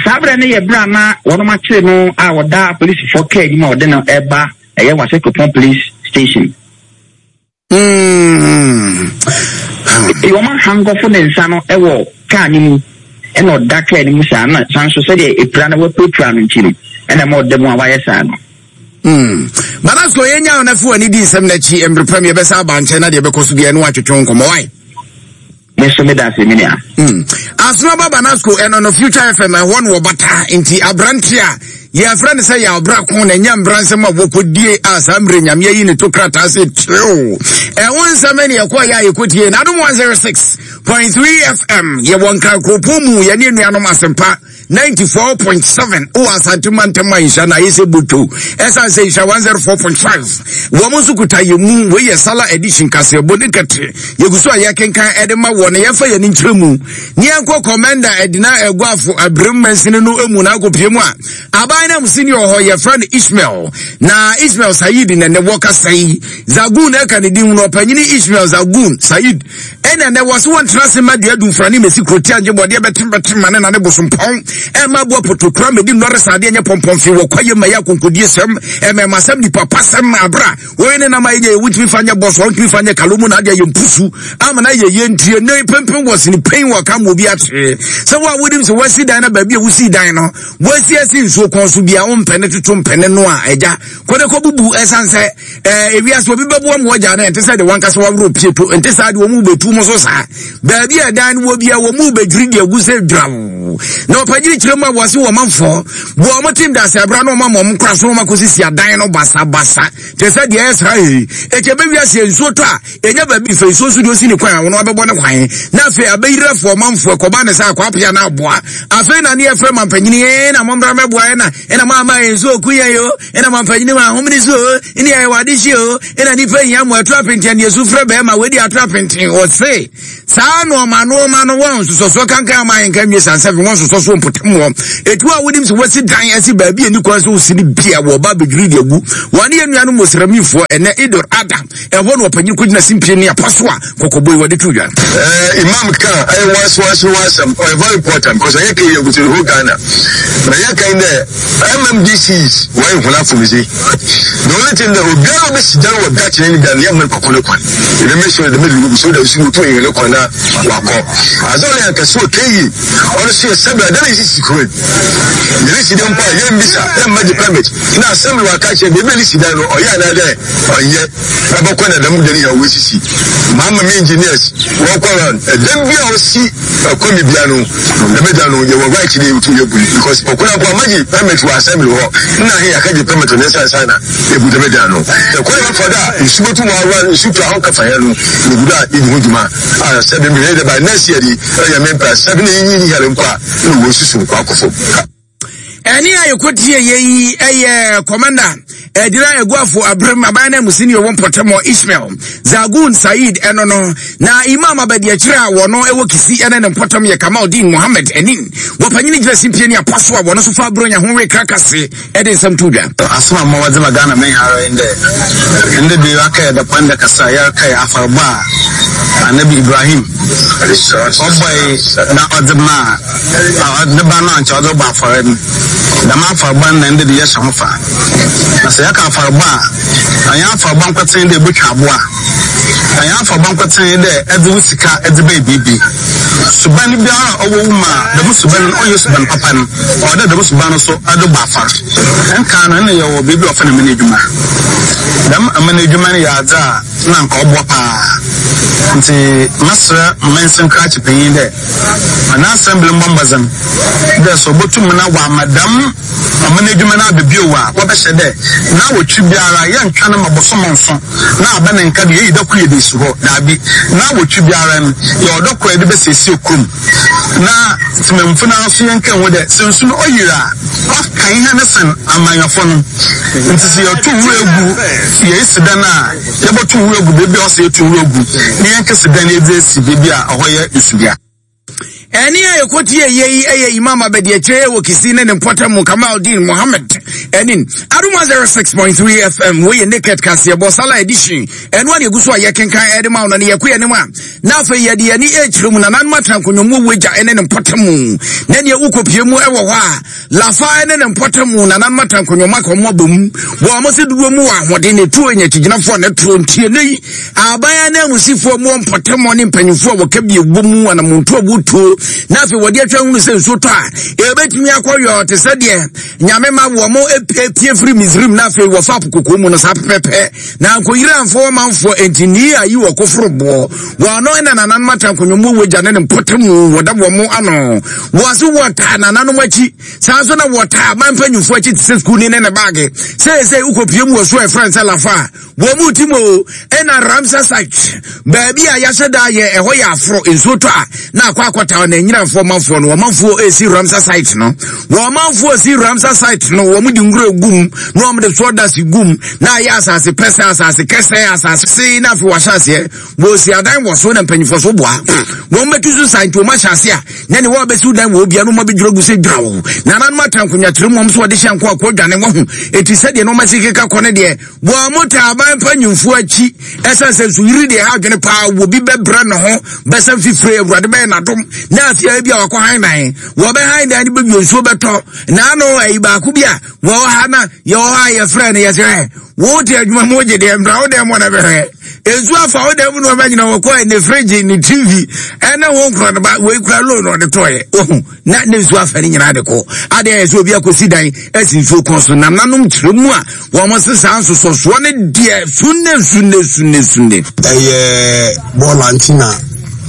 H: Saa berɛ no yɛ berɛ a na wɔnom akyere no a ɔda apolisifoɔ kaa anim a wɔde no reba ɛyɛ Wase Kuropɔn Police Station.
A: Mm.
H: Eti wɔn ahankɔfo ne nsa no wɔ kaa no mu ɛna ɔda kaa no mu saa na san so sɛdeɛ epira no wapirapira no nti no ɛna ɛma ɔda mu a wayɛ saa no.
A: Mm. Badasko yɛnya wo na fi w'ani di nsɛm no akyi mmerɛ pam yɛbɛsa aba nkyɛn na deɛ ɛbɛkɔ so biara ne woatwetwe nkɔmmɔ wae.
H: Me nso meda ase me nua.
A: Mm. Asono ba Banasco ɛno no Future F M ɛhɔ no wɔbata nti aberante a yɛfrɛ no sɛ yɛ ɔbra ko na ɛnyɛ mbra nsɛm a wɔkɔdie a saa mmerɛ Nyame ayi ne to krataa sɛ tirew ɛho nsɛm ne yɛkɔ yɛ a yɛkɔtie na Adom one oh six point three F M yɛwɔ Nkrakuropɔn mu yɛne anuanom Asɛmpa ninety-four point seven wɔ Asante mantam a nhyia na ayɛ sɛ boto ɛsiane sɛ nhyia one oh four point five wɔn nso kuta yɛ mu. Wei yɛ Sala edition kaseɛbɔ ne kɛte yɛgu so a yɛkenkan ɛde ma wɔ ne yɛmfa yɛn nkyerɛ mu ne yɛnkɔ Commander Ɛdina Ɛguafo Abirim mansini no mu na akɔpie mu a aban no sini wɔ hɔ yɛfrɛ no Ismail na Ismail Said na ne wɔ kasa yi Zagun ɛka ne din no ɔpanyini Ismail Zagun Said ɛna nɛ wɔ so wɔntena se ma dua dumfra ne mɛsi kuroti agye bɔdeɛ bɛtembɛtem ma ne nane bosompɔn ɛma aboa potokura mɛdi nnɔre saadeɛ nyɛ pɔmpɔmfe wɔ kwaye ma yɛ akonkodie sɛm ɛmɛma sɛm nipa pa sɛm abra wɔyɛ ne nam ayɛ nyɛ wontumi fa nyɛ bɔsɔ wontumi fa nyɛ kalomu na adeɛ yɛ mpusu ama na yɛ yɛ ntie ne pempem wɔ sene pɛn wɔ ka ma obi akyerɛ sɛ wo a wonim sɛ woasi dan no baabi a wosii dan no woasi asi nsuo kɔn so bia wompɛ ne toto mpɛ ne no a agya kɔde kɔ bubu ɛsiane sɛ ɛɛ ewiase obi bɛboa mu wɔgya no ɛnte sɛ de wankasa waworɔ pie to ɛnte saa de wɔn mu bɛtu mu so saa baabi a ɛdan no wɔ bia wɔn mu bɛdwiri de agu sɛ dwaw na ɔpanyini kyerɛ mu a wɔse wɔn manfoɔ wɔ wɔn tim da sɛ abira na wɔn ama wɔn kora so wɔn akɔsisi adan no basabasa te sɛ deɛ ɛyɛ saa yi eti ɛbɛwi ase nsuo tɔ a ɛnya baabi fɛ nsuo nso deɛ osi ne kwan a wɔn abɛbɔ ne kwan na afei abɛyirafoɔ ɔmanfoɔ ɛkɔba ne sɛ akɔ apia na aboa afei na ne yɛfrɛ mampanyini yɛn na mommra mɛboa yɛn na ɛna mo ama yɛn nsuo ku yɛn yo ɛna mampanyini ma ahomene so o ɛne yɛyɛ wade hye o ɛna nipa hia mo ɛto apenten deɛ su frɛ bɛrima wadi ato apenten ɔse saa nɔɔma nɔɔma no wɔn nsosɔsoɔ kankan ama yɛn ka nwie sansɛfin wɔn nsosɔsoɔ mpɔtam wɔ etu a wonim sɛ wɔsi dan ɛsi baabi a ni kwan so wosi ne bia wɔ ba abɛdwiri de agu wɔn ne yɛn nuanom mosramifoɔ ɛnɛ Idor Ada ɛhɔ na ɔpanyin kɔgyina simpie ne apa so a kɔkɔbɔ yi wɔde to dwa.
B: Uh, Imam ka ɛyɛ once once once ɔyɛ very important because ɛyɛ kɛ yɛ gutu the whole Ghana na yɛ kan dɛ M M D Cs wɔyɛ nkɔla afomdze. The only thing dɛ obiara obi si dan wɔ gakye ne dan yɛ mmerɛ kɔkɔ ne kwan ebi make sure dɛ mɛ so dɛ osi moto yɛ ne kwan na wakɔ adze ɔyɛ ankɛse wɔ keyi ɔno so yɛ sɛbi adan yɛ sisi kuro yɛne si dan mpo a yɛn bisa yɛn mma gye permit na assembly waka kyerɛ beebi a ne si dan no ɔyɛ anaa dɛ ɔnyɛ ɛbɛkɔ na dɛm dan yɛ wɔsisi maama mi engineers wɔkɔ round ɛdan bi a ɔsi ɛkɔ mi bia no ɛbɛ da no yɛwɔ right de yɛtu yɛ bu because ɔkɔ na mpo amagye permit wɔ assembly hɔ nna ahe yɛaka gye permit wɔ ne nsa nsa na ebu dɛm dan no ɛkɔ yɛ bɛfa do a nsu bɛtu wɔ awa nsu tu ahɔ kafa yɛ no yɛgu do a yɛdi ho dwuma a sɛbi mi yɛ dɛ by next year di ɛyɛ mi mpɛ sɛbi ne yiyi yɛrɛ mpo a ɛna wɔ susu akɔ fam.
A: Ɛne a yɛkɔtie yɛ yi ɛyɛ Commander Edira Eguafo Abrem aban na musini wɔ mpɔtam Ismail Zagun Said eno no na Imam abadi akyire a wɔno ɛwɔ Kisi ene ne mpɔtam yɛ Kamaldeen Mohammed enin wɔpanyini gyina simpie ne apaso a wɔno so fa abronya ho we krakase ɛde nsɛm to dwa.
I: Asoma ma wɔdze ma Ghana men ara ndɛ ndɛ bi aka da kwan da kasa yɛreka yɛ afarba Anabi Ibrahim ɔbɔe na ɔdze ma ne ba no ankyɛ ɔdze bɔ afɔre no dɛm afarba no na ndɛ de yɛhyɛ ho fa na sɛ yɛka afarba a ɛnyɛ afarba nkɔtene dɛ ebotwa aboa ɛnyɛ afarba nkɔtene dɛ ɛdze wo sika ɛdze bɛyɛ biribi suban biara a ɔwɔ wo mu a dɛm suban no ɔnyɛ suban papa no ɔwɔ dɛ dɛm suban no so ɛde bɔ afɔre nka no ɛna yɛwɔ biribi a ɔfa ne mene adwuma dɛm amene adwuma no yɛ adze a na nka ɔboa paa nti masrɛ mmansin krakye panyin dɛ ana assembly mbɔ mbɔdzen dɛ sɛ ɔbɛtum na wama dɛm amene adwuma no abɛbio a wɔbɛhyɛ dɛ na wɔtwi biara yɛntwa no ma bɔsɔmɔ nso na aba ne nka de yɛyi dako yɛ de si hɔ daabi na wɔtwi biara no yɛ ɔdɔ kɔ yɛde bɛsiesie kurom na temamfo no nso yɛnka ho dɛ sɛ nsu no ɔyere a ɔka ihe ne sen amanyɔfo no nti sɛ yɛto nwura egu yɛsi dan a yɛbɛto nwura egu beebi a ɔsɛ yɛto nwura gu ne yɛnka si dan yɛdze esi beebi a ɔhɔ yɛ nsubea.
A: Ɛne a yɛkɔtie yei ɛyɛ Imam abadi akyire wɔ Kisi ne ne mpɔtam Kamaldeen Mohammed ɛnin Adum one oh six point three F M wɔyɛ Naked Kaseɛbɔ Sala Edition ɛno a yɛgu so a yɛkenkan ɛde ma wo no ne yɛkɔ yɛnim a na afei yɛde yɛni ɛkyerɛ mu nananom atena nkonnwa wagya ɛne ne mpɔtam na neɛ wokɔpie mu ɛwɔ hɔ a Lafa ɛne ne mpɔtam nananom atena nkonnwa mu aka ɔmo abɔ mu wɔ ɔmo sɛ dodoɔ mu wɔ ahoɔden ne tuo nya akyigyinafoɔ ne toro ntie ne yi aban ne amusifoɔ mu mpɔtam ne mpanyinfoɔ a wɔka bi ɛwɔ mu anamonto a wɔtuo na afei wɔde atwa hunu sɛ nsuo tɔ a ɛbɛtumi akɔ yɔ te sɛ deɛ nyame ma wɔ mo epie firi Misrim na afei wɔfa apokoko mu no saa pɛpɛpɛ na nkɔyere amfoɔ ɔmanfoɔ enti nii ayi wɔ koforo boɔ wɔn ano ɛna nananom atena nkonnwa mu wagya ne ne mpɔtam wɔda wɔn mo ano wɔase wɔtaa nananom akyi saa nso na wɔtaa aban mpanyinfoɔ akyi te sɛ sukuu ne ne ne baage sɛsɛ wokɔpie mu wɔ so a ɛfrɛ sɛ Lafa a wɔn mu ti mu ɛna Ramsar site baabi a yɛahyɛ da yɛ ɛhɔ yɛ aforo nsuo tɔ a na akɔ akɔta na nyinamfoɔ manfoɔ no wɔn manfoɔ esi Ramsar site no wɔn manfoɔ esi Ramsar site no wɔn de nwura gum na wɔn de sawdust gum na ayɛ asase pɛsɛ asase kɛsɛ asase se na afei wɔahyɛ aseɛ wɔsi adan wɔ so na mpanyinfoɔ so boa wɔn bɛtu so san nti wɔn ahyɛ ase a na ne wɔn abɛsi dan wɔ obia no wɔn abɛdwira gu sɛ dwa wɔ nananom atena nkonnwa tiri mu wɔn nso wɔde hyɛ nko akɔ dwane wɔn ho eti sɛdeɛ na wɔn asi keka kɔ ne deɛ wɔn mo ta aban mpanyinfoɔ akyi ɛsɛn sɛ nsuyiri deɛ ha adwene paa wɔ bi bɛbrɛ ne ho bɛsɛn fifire awurade bɛyɛ n'adom na afei ebi a wakɔ han dan wɔbɛ han dan ne bɛbi nsuo bɛtɔ n'ano ɛyi baako bi a wɔwɔ ha na yɛwɔ ha yɛfrɛ no yɛsɛ wɔn te adwuma mu gye deɛ mbra wo dɛm wɔn bɛhwɛ nsuo afa wo dɛm no ɔbɛnyina wɔkɔ ne fridge ne T V ɛna wɔn kura no ba wɔn kura loan ɔde tɔɔyɛ ohun na ne nsuo afa ne nyinaa de kɔ adeɛ yɛ sɛ obi akɔsi dan ɛsi nsuo kɔn so nananom kyerɛ mu a wɔn sesa nsososoɔ ne deɛ sunne sunne sunne sunne.
J: Ɛyɛ bɔɔla nti na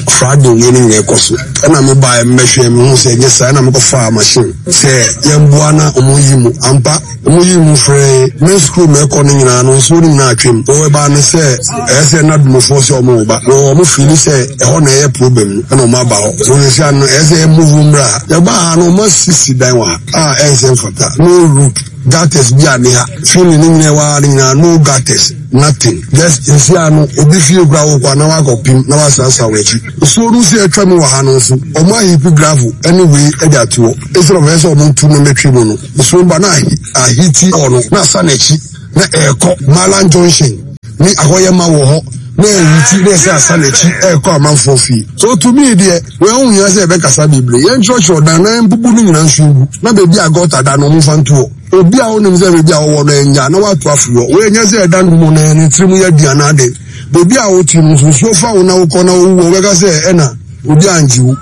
J: Friday wei ne nyinaa ɛkɔ so ɛna me ba mmɛhwɛ me ho sɛ ɛnyɛ saa ɛna mekɔfaa machine sɛ yɛmboa na ɔmo yi mu ampa ɔmo yi mu frɛ me school mɛkɔ no nyinaa no nsuo no nyinaa atwam wɔwɔ ɛbaa no sɛ ɛyɛ sɛ na dumofoɔ sɛ ɔmo ba na ɔmo fili sɛ ɛhɔ na ɛyɛ problem no ɛna ɔmo aba hɔ so wɔn sɛ ano ɛyɛ sɛ ɛmove mmra yɛba ha no ɔmo asisi dan wɔ ha a ɛnsɛ mfata no road gutters bi a ne ha fili ne nyinaa wɔ ha ne nyinaa no gutters nothing just nsi ano obi fie kura wɔ kɔ na wakɔ pim na wasasa wɔ akyi nsuo no si atwa mu wɔ ha no nso ɔmo ahipi gravel ɛne wei ɛde ato hɔ esoro ɔmo ɛsɛ ɔmo ntu na mɛtwi mu no nsuo ba na ahiti hɔ no na asa n'akyi na ɛɛkɔ Malan Junction ne ahɔyɛma wɔ hɔ na ɛhiti na ɛsɛ asa n'akyi ɛɛkɔ amanfoɔ fie so to me deɛ wɔn ho hia sɛ ɛbɛkasa bebree yɛn kyerɛkyerɛ dan na mpupu no nyinaa nso gu na beebi a gɔta da no ɔmo fa nto hɔ obi a wonim sɛ beebi a wɔwɔ no ɛnya na wato afiri hɔ wɔn nyɛ sɛ ɛda no mu na ne tirim yɛ di anaade beebi a wote no nso nsuo fa wo na wokɔ na wowu wɔ wɔbɛka sɛ ɛna obi angye wo.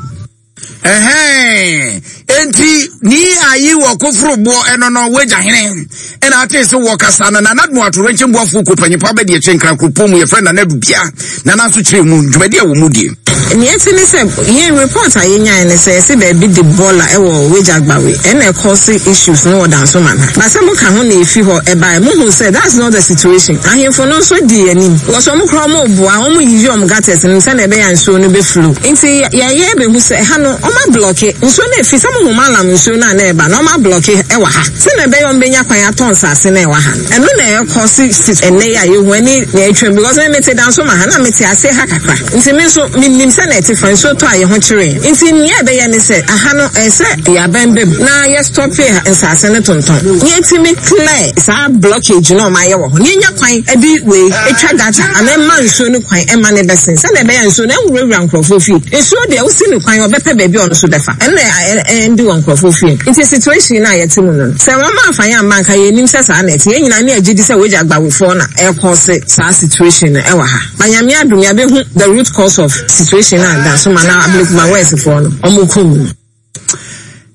A: Ɛhɛn enti ni ayi wɔ koforo boɔ ɛno no wagya hene ɛna ate sɛ wɔ kasa no nana no ato renkyɛn boafo kɔ panyimpa bɛde ɛkyɛ nkrankuropɔn mu yɛfrɛ nana dubia nana nso kyerɛ mu dwumadi a wɔ mu die.
K: Nea ɛte ne sɛ yɛn report a yɛnyae ne sɛ yɛsɛ baabi de bɔɔla ɛwɔ Weija Gbawe ɛna ɛkɔse issues no wɔ Dansoman ha. Ba sɛ moka ho na efi hɔ ɛbae, mohu sɛ that's not the situation. Ahemfo no nso di anim. Wɔsɔ ɔmo koraa, ɔmo boa, ɔmo yiyi ɔmo gutters no sɛnea ɛbɛyɛ a nsuo no bɛflow. Nti yɛyɛ bɛhu sɛ ɛha no ɔmo ablock nsuo no efi sɛ mohu malam nsuo no a na ɛba na ɔmo ablock ɛwɔ ha sɛnea ɛbɛyɛ ɔmo bɛnya kwan atɔ nsase na ɛwɔ ha no. Ɛno na ɛkɔ si si ɛnɛ yi a yɛhu ɛne nea atwam, because me mete Dansoman ha na mete ase ha kakra, nti me nso menim sɛ na ɛte fa nsuo tɔ a yɛ ho kyerɛ. Nti nea ɛbɛyɛ ne sɛ aha no ɛsɛ yɛabɛn bɛm na yɛstop nsase no tontɔn na yɛtumi clear saa blockage na ɔmo ayɛ wɔ hɔ na yɛnya kwan ɛde wei etwa gutter ana ɛma nsuo no kwan ɛma ne bɛsen sɛnea ɛbɛyɛ nsuo no ɛnwurawura nkurɔfoɔ fie. Nsuo deɛ, wosi no kwan, ɔbɛpɛ baabi a ɔno nso bɛfa, ɛnna ɛndi wɔ nkurɔfoɔ fie. Nti situation na yɛte mu no, sɛ wɔn afa yɛn amma nka yɛnim sɛ saa na ɛte. Yɛn nyinaa ne agye di sɛ Weija Gbawefoɔ na ɛkɔ se saa situation no ɛwɔ ha. Ba Nyame adum, yɛabɛhu the root cause of situation na Dansoman na Ablekuma Westfoɔ no ɔmo kum no.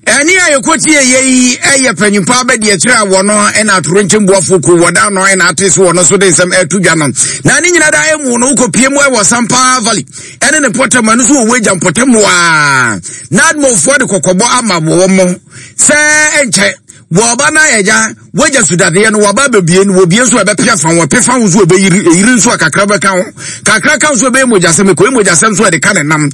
A: Ɛne a yɛkɔtie yɛ yi ɛyɛ panyimpa abɛde akyerɛ a wɔno ɛna atoro nkyɛmboafo ku wɔda no ɛna ate so wɔno so de nsɛm ɛto dwa no. Na ne nyina da ɛmu no, wokɔpie mu ɛwɔ Sampa Valley ɛne ne pɔtɛm ɛno so wɔ Weija mpɔtɛm a NADMOfoɔ de kɔkɔbɔ ama wɔ mo sɛ ɛnkyɛ wɔba na ɛgya wagya sudadeɛ no wɔba bɛbie no, wɔbie nso ɛbɛpia fa wɔpe fa ho nso ɛbɛyiri ɛyiri nso a kakra bɛka ho, kakra ka nso ɛbɛyɛ mogyasɛm, ɛkɔyɛ mogyasɛm nso ɛde ka ne nam.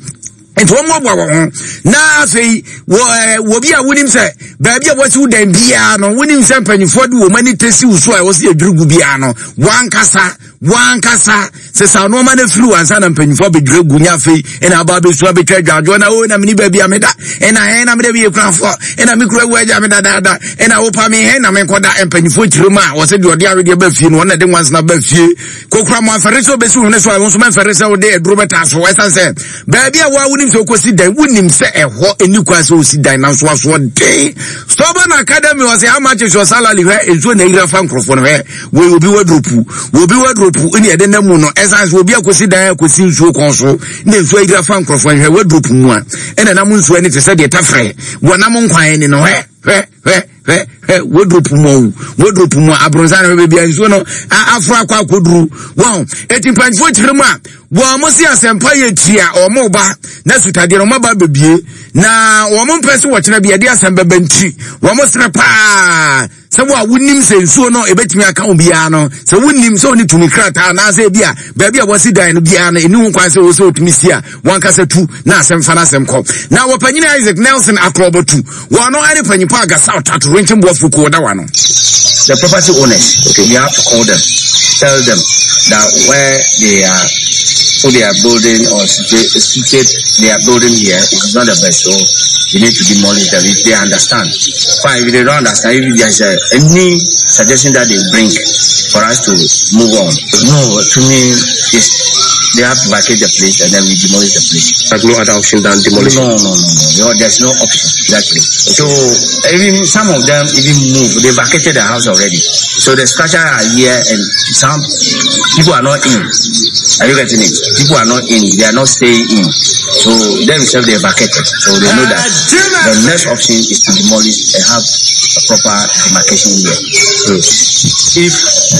A: Nti wɔn mmoaboa wɔn ho na afei wɔ ɛɛ wɔ bi a wonim sɛ baabi a wɔasi wo dan biara no, wonim sɛ mpanyinfoɔ de wɔn ani tesi wo so a wɔsi adwiri gu biara no, wankasa wankasa sesa nneɛma no firi wansa na mpanyinfoɔ abɛdwiri gu. Nya afei ɛna aba abɛsu abɛtwa adwadwoɔ na o na mene baabi a meda ɛna hɛn na meda bi yɛ kurafoɔ ɛna me kura wu agya me dadaada ɛna wopa me hɛn na menkɔda mpanyinfoɔ kyerɛ mu a wɔsɛ deɛ ɔde awedeɛ ba fie no, wɔn na de nwansena ba fie. Kokura mo afɛre sɛ wobɛsi wo hwene so a, wo nso mɛmfɛre sɛ wode aduro bɛtaa so, ɛsiane sɛ baabi a woa wonim sɛ wokɔsi dan, wonim sɛ ɛhɔ ɛni kwan sɛ wosi dan, nanso asoɔden. Stubborn Academy wɔ sɛ how much is your salary? Hwɛ nsuo na ayira fa nkurɔfoɔ no. Hwɛ wei, obi wadropu, obi wadropu ne ɛde nam mu no, ɛsiane sɛ obi akɔsi dan akɔsi nsuo kɔn so na nsuo ayira fa nkurɔfoɔ no. Hwɛ wadropu mu a ɛna nam nsuo ani te sɛ deɛ tafrɛ wɔnam nkwan ni no. Hwɛ, hwɛ, hwɛ, hwɛ, hwɛ wardrobe mu o, wardrobe mu a abrɔnsan no baabi a nsuo no aforo akɔ akɔduru wɔn. Eti mpanyinfoɔ kyerɛ mu a wɔn mo si asɛmpa yɛ tia wɔn ba na sutadeɛ no wɔn aba bebie na wɔn mpɛ so wɔkyerɛ bi yɛde asɛm bɛbɛ, nti wɔn srɛ paa sɛ wo a wonim sɛ nsuo no ebɛtumi aka wo biara no, sɛ wonim sɛ wone tumi krataa anaasɛ ebi a baabi a wɔsi dan no biara no ɛni ho kwan sɛ wɔ sɛ wotumi si a, wankasa tu na asɛm fa no asɛm kɔ. Na wɔpanyini Isaac Nelson Akorɔbɔtu wɔn no ɛne panyimpa Agasa Ɔtato Renkyɛmboafo kuo wɔda wa no.
L: The property owners, okay, we have to call them, tell them that where they are put their building or situate their building here is not the best, so you need to demolish them. If they understand, fine. If they don't understand, if there's a, any suggestion that they bring for us to move on. No, to me, it's they have to vacate the place and then we demolish the place.
M: There's no other option than demolition.
L: No, no, no, no. no there's no option. Exactly. So even some of them even moved. They vacated the house already. So the structure are here and some people are not in. Are you getting it? People are not in. They are not staying in. So themselves, they vacated. So they know that the next option is to demolish and have a proper demarcation here. Mm. If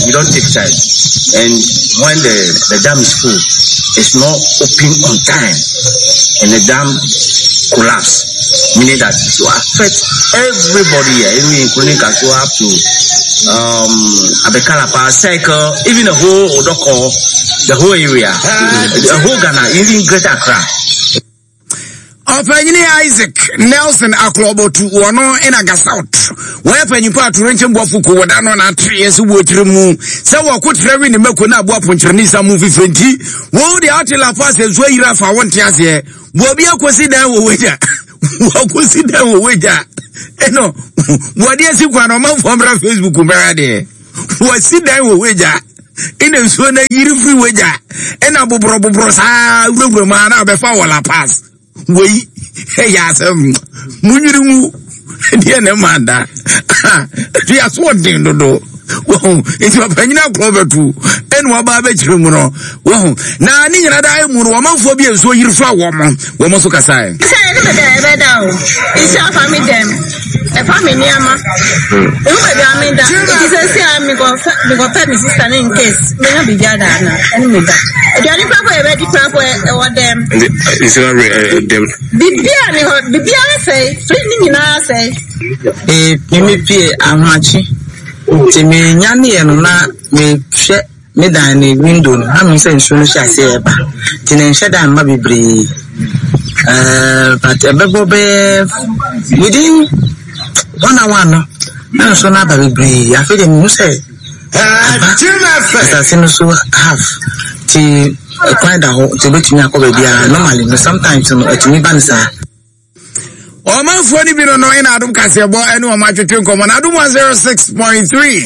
L: you don't take time and when the, the dam is full, it's not open on time and the dam collapse, meaning that it will affect everybody here, even including Kasoa up to um, Abekalapa, Circle, even the whole Odorkor, the whole area, the whole Ghana, even Greater Accra.
A: Ɔpanyini Isaac Nelson Akorɔbɔtu wɔno ɛna Gasout wɔyɛ panyimpa atorenkyɛm boafo ko wɔda no na atereɛ sɛ wɔtiri mu sɛ wɔko trɛ we ne mako no aboa ponkyerɛne sa mu fifiri, nti wɔn deɛ ɔte La Paz nsuo ayiri afa wɔnte aseɛ. Wɔbi akɔsi dan wɔ Wagya, wɔakɔsi dan wɔ Wagya ɛno wɔde asi kwan no, ɔmanfoɔ mmra Facebook mmra deɛ wɔasi dan wɔ Wagya ɛna nsuo no ayiri firi Wagya ɛna boborɔ boborɔ saa wurawura mu a na abɛfa wɔ La Paz. Wei ɛyɛ asɛm munwiri ngu deɛ ne ma da de aso ɔden dodo. Wɔn nti ɔpanyin akorɔ bɛtu ɛna waba abɛkyerɛ mu no wɔn na ne nyinaa da mu no wɔmanfoɔ bi nsuo yiri fa wɔn wɔn nso kasae.
N: Sɛ ɛne baabi a yɛbɛda o, nsuo afa me dɛm, ɛfa me nneɛma, ehu baabi a meda, nti sɛ si a mekɔpɛ me sista ne in case menya biribi ada ana ɛne meda. Aduane koraa po yɛbɛdi koraa po ɛwɔ dɛm.
M: Nsuo awe dɛm.
N: Biribiara ne hɔ, biribiara sɛe, fridge ne nyinaa sɛe.
K: Ee, me pie ahomakye nti menyaneɛ no na mehwɛ me dan ne window no na mehu sɛ nsuo no hyɛ aseɛ ɛba nti na nhyɛ dan mma bebree ɛɛ but ɛbɛbɔ bɛyɛ within one hour no na nsuo no aba bebree. Afei deɛ mehu sɛ aba asase no so half nti kwan da hɔ nti obɛtumi akɔ baabiara. Normally no, sometimes no ɛtumi ba no saa.
A: Ɔmanfoɔ no bi no no ɛna Adom kaseɛbɔ ɛne ɔmo atwetwe nkɔmmɔ na Adom one oh six point three,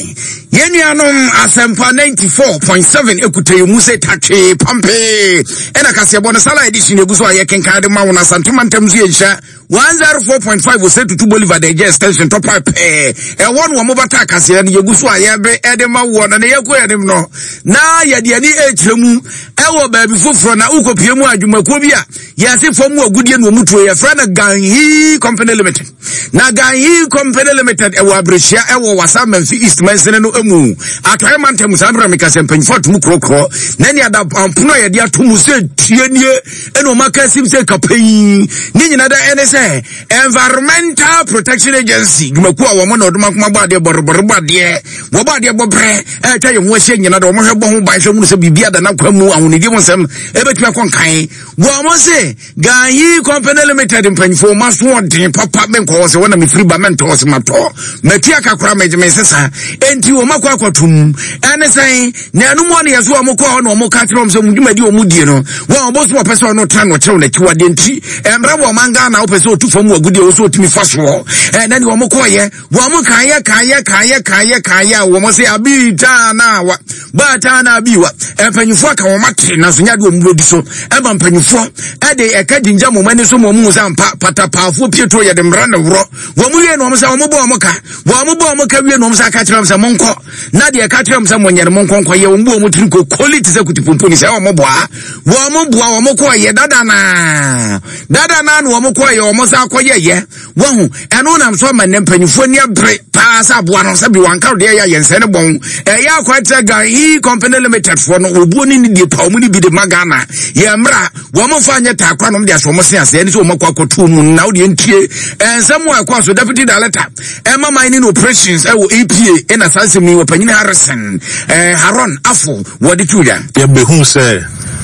A: yɛn nuanom Asɛmpa ninety-four point seven ekuta yɛn mu sɛ tatwee pampee. Ɛna kaseɛbɔ no sala edition egu so a yɛkenkan de ma wɔn. Asantema ntam so yɛnhyia one oh four point five wɔ sɛ Tutu Bolivar de gye extension tɔpa pɛɛ ɛwɔ no wɔn bata kaseɛ no yɛgu so a yɛbe ɛde ma wɔ no na yɛkɔ yɛn anim no na yɛde ani ɛrekyerɛ mu ɛwɔ baabi foforɔ na wokɔpie mu adwumakuo bi a yɛse fam agudie na ɔmu tuo, yɛfrɛ no Ganhi Company Limited. Na Ganhi Company Limited ɛwɔ Aberɛhyia, ɛwɔ Wasa Mamfi East mansini no mu, Atɔeɛ mantam. Saa berɛ meka sɛ mpanyimfoɔ atom korɔkorɔ na ne ada ampono a yɛde ato mu sɛ tie nie ɛna ɔma ka sim sɛ kapɛyi ne nyina da ɛne sɛ Environmental Protection Agency dwumakuo a wɔn na ɔdoma nkoma bɔ adeɛ bɔrebɔre bɔ adeɛ wɔbɔ adeɛ bɔ berɛ ɛtwa yɛn ho ahyia nyina da wɔn hwɛ bɔ ho ban hwɛ mu sɛ biribi ada n'akwan mu ahonidie mu nsɛm ɛbɛtumi akɔ nkan. Wɔn se Ganhi Company Limited mpanyinfoɔ wɔn aso ɔden papa. Menkɔ hɔ sɛ wɔn na mefiri ba mɛntɔ hɔ sɛ matɔ matua kakora mɛgye me nsesa enti wɔn akɔ akɔtum ɛne sɛn na ɛnum wɔn yɛ so wɔn kɔ hɔ na wɔn ka kyerɛ wɔn sɛ wɔn dwumadi wɔn die no wɔn ɔbɔ so wɔpɛ sɛ ɔno tena na ɔkyerɛw n'akyiwadeɛ nti mmerɛ wɔ ɔman Ghana wopɛ sɛ ɔtu fam wɔ agudie wɔ so ɔtumi fa soɔ. Ɛna ne wɔn kɔɔyɛ wɔn kaayɛ kaayɛ kaayɛ kaayɛ kaayɛ a wɔn sɛ abi taa na wa baa na abi wa mpanyinfoɔ aka wɔn ate nanso nyɛ de wɔn bɛdi so. Ɛma mpanyinfoɔ ɛde ɛka gyingya wɔn ani so ma wɔn mu sɛ ampa patapaafoɔ pieto yɛde mmara na worɔ wɔn wie na wɔn sɛ wɔn bɔ wɔn ka wɔn bɔ wɔn ka wie na wɔn sɛ aka kyerɛ wɔn sɛ monkɔ na deɛ ɛka kyerɛ wɔn sɛ monyɛ no monkɔ nkɔ yɛ wɔn bu wɔn tiri ko koli te sɛ kutipompo sɛ wɔn boa wɔn boa wɔn kɔ yɛ dada naa dada naa na wɔn kɔ yɛ wɔn sɛ akɔ yɛ yɛ wɔn ɛno nam so ama ne mpanyinfoɔ ani abere paa sɛ aboa no sɛbi wanka deɛ yɛ ayɛnsɛn ne bɔn ɛyɛ akɔ Ganhi Company Limited foɔ no obuo ne ne die pa wɔn ne bi de ma Ghana yɛ mmra wɔn fa nyɛ taakora nom de ahyɛ wɔn se ase ɛne sɛ wɔn akɔ akɔto mu na wɔde ntie nsɛm a ɛkɔ so. Deputy Director ɛma mining operations ɛwɔ E P A ɛna saa nsɛm yi wɔpanyin Harrison ɛɛ Haron Afo wɔde tu dwa.
O: Yɛbɛhu sɛ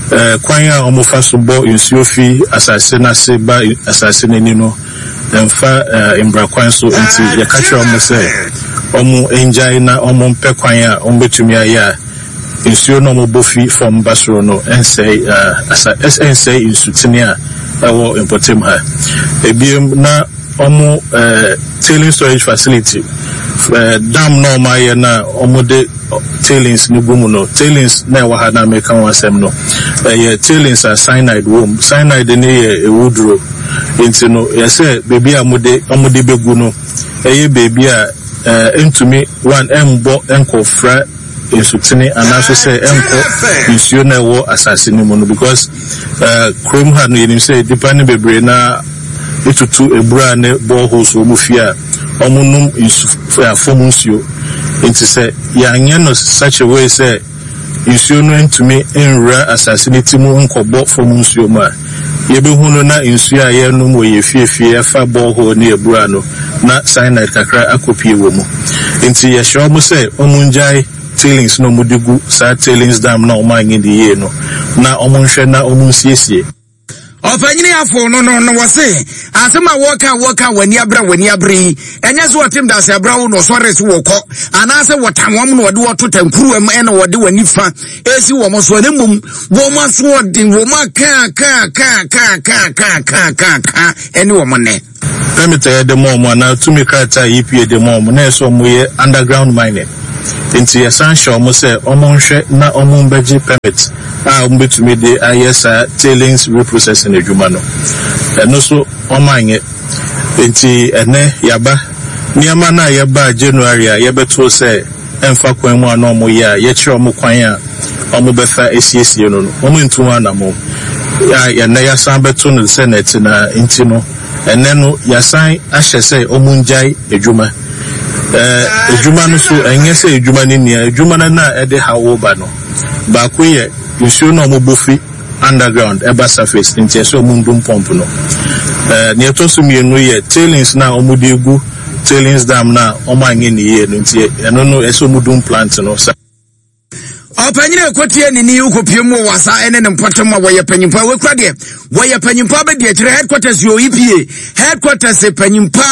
O: ɛɛ kwan a wɔfa so bɔ nsuo fi asase n'ase ba asase n'ani no mfa ɛɛ mbra kwan so, nti yɛka kyerɛ wɔn sɛ wɔn ngyae na wɔn mpɛ kwan a wɔn bɛtumi ayɛ a nsuo no a wɔbɔ fi fam ba soro no nsɛe ɛɛ asa ɛnsɛe nsutene a ɛwɔ mpɔtam ha. Ebiem na wɔn ɛɛ tailing storage facility, ɛɛ dam na wɔn ayɛ na wɔde tailings no gu mu no, tailings na ɛwɔ ha na meka ho asɛm no, ɛyɛ tailings a cyanide wɔ mu. Cyanide no yɛ ewuduro, nti no yɛsɛ beebi a wɔde wɔde bɛgu no ɛyɛ beebi a ɛɛ ntumi one ɛmbɔ ɛnkɔfra nsutene anaasɛ sɛ ɛnkɔ nsuo na ɛwɔ asase no mu no, because ɛɛ kurom ha no yɛnim sɛ nipa no bebree na etutu ebura ne boreholes wɔ mu fie a wɔn nom nsu fam nsuo, nti sɛ yɛanyɛ no such a way sɛ nsuo no ntumi nwura asase no ti mu nkɔbɔ fam nsuo mu a, yɛbɛhu no na nsuo a yɛnom wɔ yɛ fiefie ɛfa borehole ne ebura no na cyanide kakra akɔpie wɔ mu. Nti yɛhyɛ wɔn sɛ wɔn ngyae tailings na wɔn de gu saa tailings dam na wɔn anyɛ de yie no na wɔn nhwɛ na wɔn nsiesie.
A: Ɔpanyini afo no no no wɔse asɛm a wɔka wɔka w'ani abere w'ani abere yi ɛnyɛ sɛ wɔtem da ase abere wo na ɔsɔre so wɔkɔ anaasɛ wɔtam wɔn na wɔde wɔto tankuruwa mu ɛna wɔde w'ani fa esi wɔn so, ɛna mmom wɔn aso ɔden wɔn aka ka ka ka ka ka ka ka ka ɛne wɔn nɛ.
O: Permit a yɛde ma wɔn anaa tumi krataa a E P A de ma wɔn na ɛsɛ wɔn yɛ underground mining, nti yɛsan hyɛ wɔn sɛ wɔn nhwɛ na wɔn mbɛgye permit a wɔn bɛtumi de ayɛ saa tailings reprocessing adwuma no. Ɛno so wɔn anyɛ, nti ɛnɛ yaba nneɛma no a yɛba January a yɛbɛto sɛ ɛmfa kwan mu a na wɔyɛ a yɛkyerɛ wɔn kwan a wɔbɛfa asiesie no no, wɔntu ho anammɔn. A ɛnnɛ yɛasan bɛto no sɛ na ɛte no ara nti no, ɛnnɛ no yɛasan ahyɛ sɛ wɔngyae adwuma. Ɛɛ, adwuma no so, ɛnyɛ sɛ adwuma no nni a, adwuma no na ɛde haw reba no. Baako yɛ nsuo no a wɔbɔ fi underground ɛba surface nti ɛsɛ wɔn ndum pump no. Ɛɛ, nea ɛtɔ so mmienu yɛ tailings no a wɔde gu tailings dam no a wɔanyɛ no yie no nti ɛno no ɛsɛ wɔn dum plant no. Sa
A: Ɔpanyin a ɛkɔtie ne ni wokɔpie mu wɔ wasa ne ne mpɔtam a wɔyɛ panyimpa wɔkura deɛ wɔyɛ panyimpa abɛdi akyire headquarters yɛ E P A headquarters panyimpa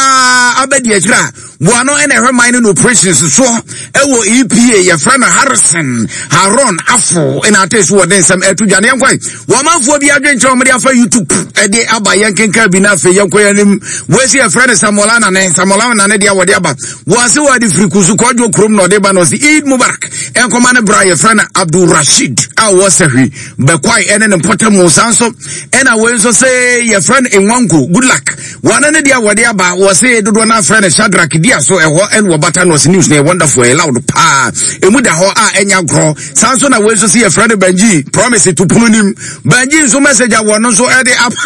A: abɛdi akyire a wɔn ano na ɛhwɛ man no operations soɔ ɛwɔ E P A yɛfrɛ no Harrison Haron Afo ɛna ate so wɔde nsɛm ɛto dwa ne yɛnkɔe wɔn amanfoɔ bi adwenkyerɛ wɔn de afa YouTube ɛde aba yɛn kenkan bi na afei yɛnkɔ yɛn anim wɔasi yɛfrɛ no Samuel Anane Samuel Anane deɛ wɔde aba wɔase wɔde firi kusu kɔdwo kurom na ɔde ba na ɔsi Eid Mubarak ɛnkɔma ne bra yɛfrɛ no Abdul Rashid a wɔ sɛhwi bɛkwae ɛne ne mpɔtam saa nso ɛna wei nso sɛ yɛfrɛ no Nwanko good luck wɔn ne deɛ wɔde aba wɔse dodoɔ no afrɛ no Shadrach dia so ɛhɔ ɛne wɔbata no ɔse news no yɛ wonderful ɛyɛ loud paa ɛmu da hɔ a ɛnya agorɔ saa nso na wei nso sɛ yɛfrɛ no Benji promise to pono nim Benji nso message a wɔn nso ɛde aba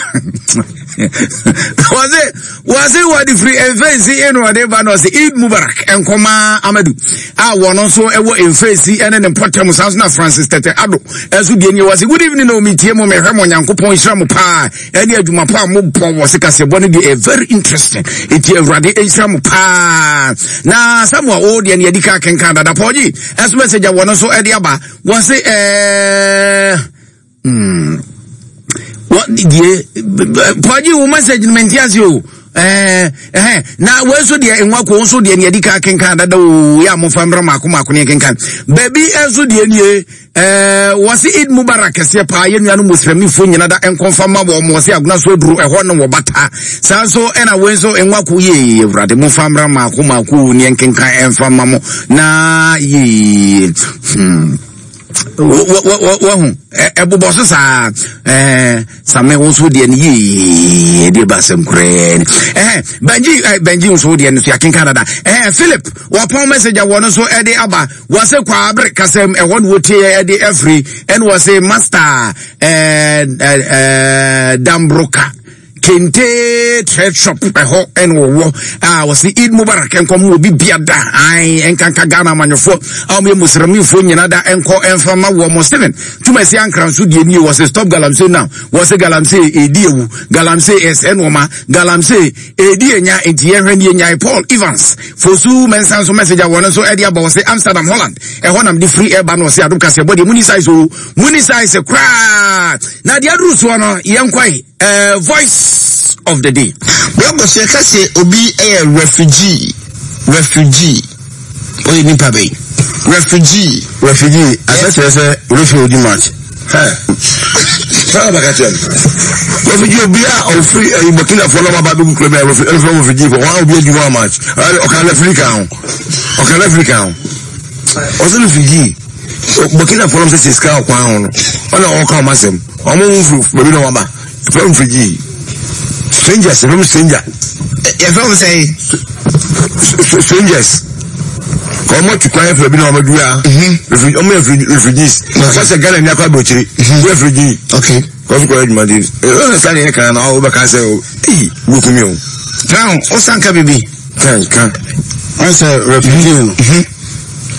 A: wɔse wɔse wɔde firi mfɛnsi ɛna wɔde ba no ɔse Eid Mubarak nkɔma Amadu a wɔn nso ɛwɔ mfɛnsi ɛne ne mpɔtam saa nso na Francis Tete Ado ɛnso deɛ nie wɔse good evening na omitie mo mehwɛ mo Nyankopɔn nhyira mo paa ɛne adwuma pa a mobɔ wɔ se kaseɛbɔ no deɛ very interesting enti Awurade nhyira mo paa na Samuel wo deɛ ne yɛdi ka kenkan dada pɔgye ɛnso message a wɔn nso ɛde aba wɔse ɛɛ mm what die pɔgye wo message no mente ase o ɛɛ ɛhɛn na wei nso deɛ nwa ko nso deɛ ne yɛdi ka kenkan dada o yɛ a momfa mmra mako mako ne kenkan baabi nso deɛ nie ɛɛ wɔsi Eid Mubarak kɛseɛ paa yɛn nuanom muslimifo nyina da nkɔmfa ma wɔn wɔsi agona so aduro ɛhɔ no wɔ bata saa nso ɛna wei nso nwa ko yie awurade momfa mmra mako mako ne kenkan ɛmfa ma mo na yie hmm wahu ɛbobɔ so saa ɛɛ same wo nso deɛ no yie deɛ ba asɛm koraa ni ɛhɛn Benji ɛ Benji nso deɛ no so yɛakenka dada ɛhɛn Philip wɔpɔn message a wɔn nso ɛde aba wɔsɛ kwaabere kasɛm ɛhɔ no wɔtie ɛde afiri ɛna wɔsɛ master ɛɛ ɛɛ Dambroka Kente trade shop ɛhɔ ɛna wɔwɔ a wɔsi Eid Mubarak nkɔm obi bia da ae nkanka Ghana amanyɔfoɔ a wɔyɛ muslimfoɔ nyina da nkɔ ɛmfa ma wɔ mo Steven tumasi ankra nso deɛ nie wɔsi stop galamsey now wɔsi galamsey edi ewu galamsey ɛsɛ nneɛma galamsey edi enya nti yɛhwɛ ne yɛnya Paul Evans Fosu Mensah nso message a wɔn nso ɛde aba wɔsi Amsterdam Holland ɛhɔ nam de free ɛba no wɔsi adom kaseɛ bɔ deɛ muni size o muni size koraa na deɛ aduru soɔ no yɛnkɔe. Uh, voice of the day.
P: Bible sɛ ka sɛ obi yɛ refugee, refugee. Ɔyɛ nipa bɛyi. Refugee.
Q: Refugee. Asɛ kyerɛ sɛ refi odi match. Sáà bàkà kyerɛ no. Refugee obi a ɔfiri ɛyi Burkina fo na ɔba abɛgu kuro bi a refugee refugee fo wɔn a obi adi wɔn match. Ɔka referee kan ho. Ɔka referee kan ho. Ɔsɛ refugee. Burkina fo na ɔsɛ sɛ sika ɔkwan ho no. Ɔna ɔka ɔmo asɛm. Ɔmo ho firi baabi na wɔn aba. Yɛfrɛ wɔn refugee. Strangers, yɛfrɛ wɔn stranger.
P: Yɛfrɛ wɔn sɛ?
Q: Strangers. Wɔn atu kwan afiri bi na wɔn adu ha. Wɔn yɛ refugees. Wɔn sɛ Ghana ni akɔ aburokyire. Wɔn refugee.
P: Okay.
Q: Wɔn so kɔ adwuma di. Wɔn sɛ sani yɛ kan na wɔn bɛka sɛ eyi wokumi o.
P: Crown, ɔsan ka bibi.
Q: Kan kan.
R: Wɔn sɛ refugee no.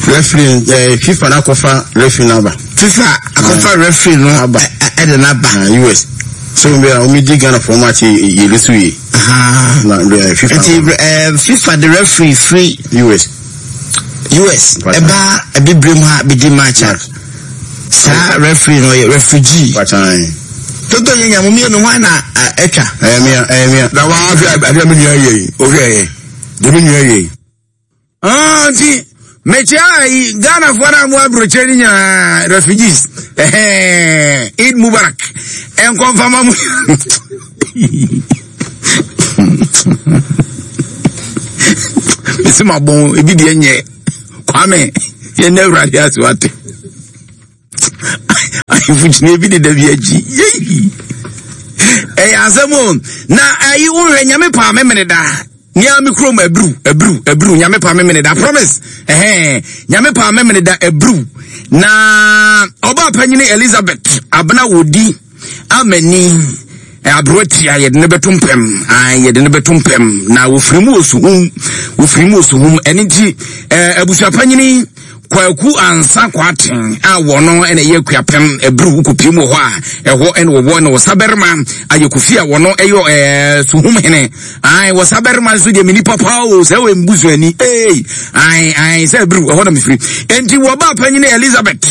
R: Referee eh, FIFA na akɔfa referee n'aba.
P: FIFA akɔfa referee no
R: aba
P: ɛde n'aba.
R: U S so bi a wɔn di Ghana fɔ match yɛ yɛ so yie. Na FIFA.
P: Nti ɛɛ FIFA de referee free.
R: U S.
P: U S ɛba abibire mu ha bedi match a saa referee no yɛ refugee. Toto yɛ nyamu mmienu hɔ na ɛtwa.
Q: Ɛyɛ mia ɛyɛ mia. Na wa ahwɛ adeɛ mi nua yɛ yi o hwɛ yɛ deɛ mi nua yɛ yi.
A: Ah, nti mekyia ayi Ghanafoɔ no a mo aburokyerɛ no nyinaa refugees ɛhɛn Eid Mubarak ɛnkɔmfama mo mesi ma bɔn ebi deɛ nyɛ Kwame yɛn na Awurade ase wate ahemfo gyina ebi deda bi akyi yei ɛyɛ asɛm o na ayi wohwɛ Nyame paa memene da Nea me kurom Abiriw, Abiriw, Abiriw, Nyame pa memene da, promise. Ɛhɛn, Nyame pa memene da Abiriw. Na ɔbaa panyini Elizabeth Abena Wodi Amani aberewa tia yɛde ne bɛto mpɛm. Ae, yɛde ne bɛto mpɛm. Na wɔfiri mu wɔ suhum, wɔfiri mu wɔ suhum. Ɛno nti, eh, abusua panyini Kwaku Ansa Kwarteng a wɔno na ɛyɛ Akuapem Abiriw kɔpie mu wɔ hɔ a ɛhɔ ɛna wɔwɔ na wɔsabarima ayɛ Kofi a wɔno ɛyɛ ɛɛ Suhum hene. Ae, wɔsabarima nso deɛ me nipa paa o, sɛ wɔyɛ mbusuani ee. Ae, ae, sɛ Abiriw ɛhɔ na mefiri. Enti wɔba panyini Elizabeth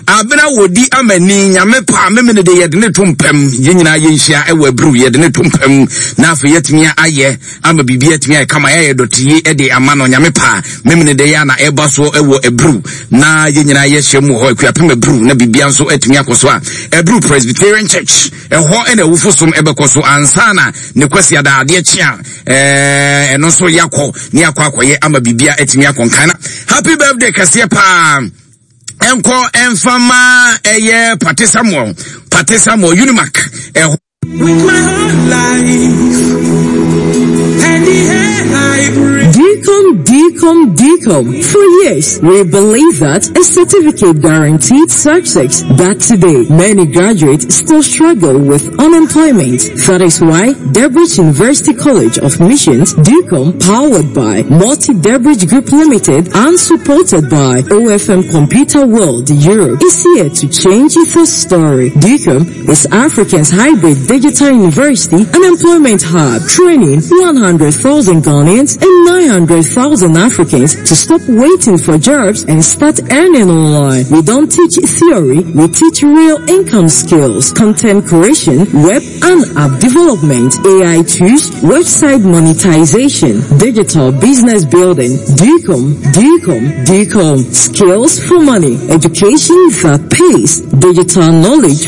A: Abena Wɔdi Amani Nyame paa memene de yɛde ne to mpam. Yɛn nyinaa yɛnhyia ɛwɔ Abiriw, yɛde ne to mpam na afei yɛatumi ayɛ ama biribi atumi ayɛ kama, yɛayɛ dɔteye de ama no. Nyame paa memene de yɛ na ɛba so wɔ Abiriw na yɛn nyinaa yɛhyɛ mu wɔ hɔ, Akuapem Abiriw, na biribia nso atumi akɔ so a Abiriw Presbyterian Church ɛhɔ ɛna awufo som ɛbɛkɔ so ansa na ne kwasi ada adeɛ kye a ɛɛ ɛno nso yɛakɔ ne yɛakɔ akɔyɛ ama biribia atumi akɔ nkan. Na happy birthday kɛseɛ paa ɛnkɔ ɛmfa ma ɛyɛ Pate Samuel, Pate Samuel Unimac ɛhɔ.
S: With my whole life and the air I breathe.
T: DCOM, DCOM, DCOM. For years, we believe that a certificate guaranteed success. But today, many graduates still struggle with unemployment. That is why Debridge University College of Missions, DCOM, powered by Multi Debridge Group Limited and supported by O F M Computer World Europe, is here to change the story. DCOM is Africa's hybrid digital university and employment hub, training one hundred thousand Ghanaians and nine hundred thousand Africans to stop waiting for jobs and start earning online. We don't teach theory, we teach real income skills, content creation, web and app development, A I tools, website monetization, digital business building. DCOM, DCOM, DCOM. Skills for money, education that pays, digital knowledge.